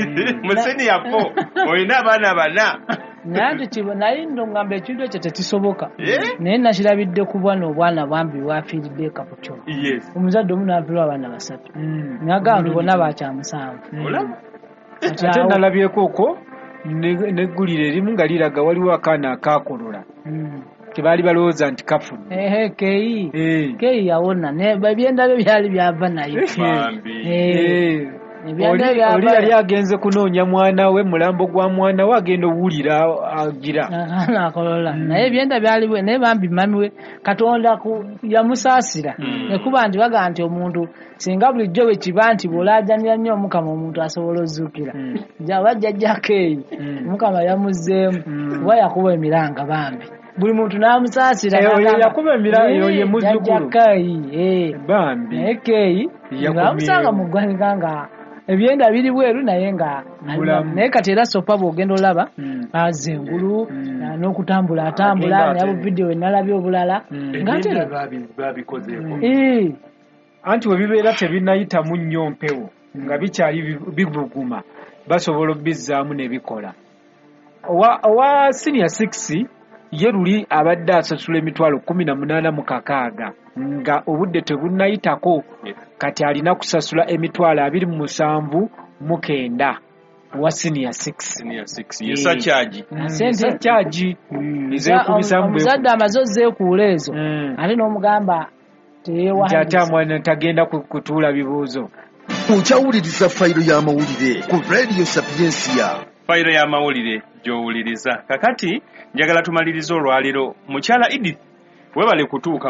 mu senior four olina abaana bana. Naye nti naye nno ngamba ekintu ekyo tekisoboka, naye nakirabidde ku bwana obwana bwambi bwafiiridde Kaputyo. Omuzadde omu n'afiirwa abaana basatu, n'agamba nti bonna bakyamusanvu. Ate nalabyeko okwo n'eggulire erimu nga liraga waliwo akaana akaakolola tebaali balowooza nti kafudde. Ehe, keyi keyi yawona ebyenda bye byali byava naye. Oli yali agenze kunoonya mwana we, mulambo gwa mwana we agenda owulira agira akolola, naye ebyenda byali naye bambi mami we Katonda yamusaasira. Nekuba nti bagamba nti omuntu singa bulijjo bwe kiba nti bw'olaajanira nnyo Omukama omuntu asobola ozuukira, oba jjajja Keyi Omukama yamuzzeemu kuba yakuba emiranga bambi buli muntu n'amusaasira. Yakuba emiranga ye muzzukulu Keyi bambi, naye Keyi ng'amusanga mu ggwanika nga ebyenda biri bweru naye nga naye kati era sopa bw'ogenda olaba azza engulu n'okutambula atambula naye buvidiyo we nalabye obulala ng'ate babikozeeko. Anti we bibeera tebinnayitamu nnyo mpewo nga bikyali bibuguma basobola obizzaamu ne bikola. Owa, owa senior six ye luli abadde asasula emitwalo kkumi na munaana mu kakaaga nga obudde tebunnayitako, kati alina kusasula emitwalo abiri mu musanvu mu kenda owa senior six. Senior six ye surcharge. Surcharge ezeekubisaamu. Omuzadde amaze ozeekuula ezo ate n'omugamba nti ate amwana tagenda kutuula bibuuzo. Okyawuliriza fayiro y'amawulire ku Radio Sapiensia. Fayiro y'amawulire gy'owuliriza. Kakati njagala tumalirize olwaleero. Mukyala Edith webale kutuuka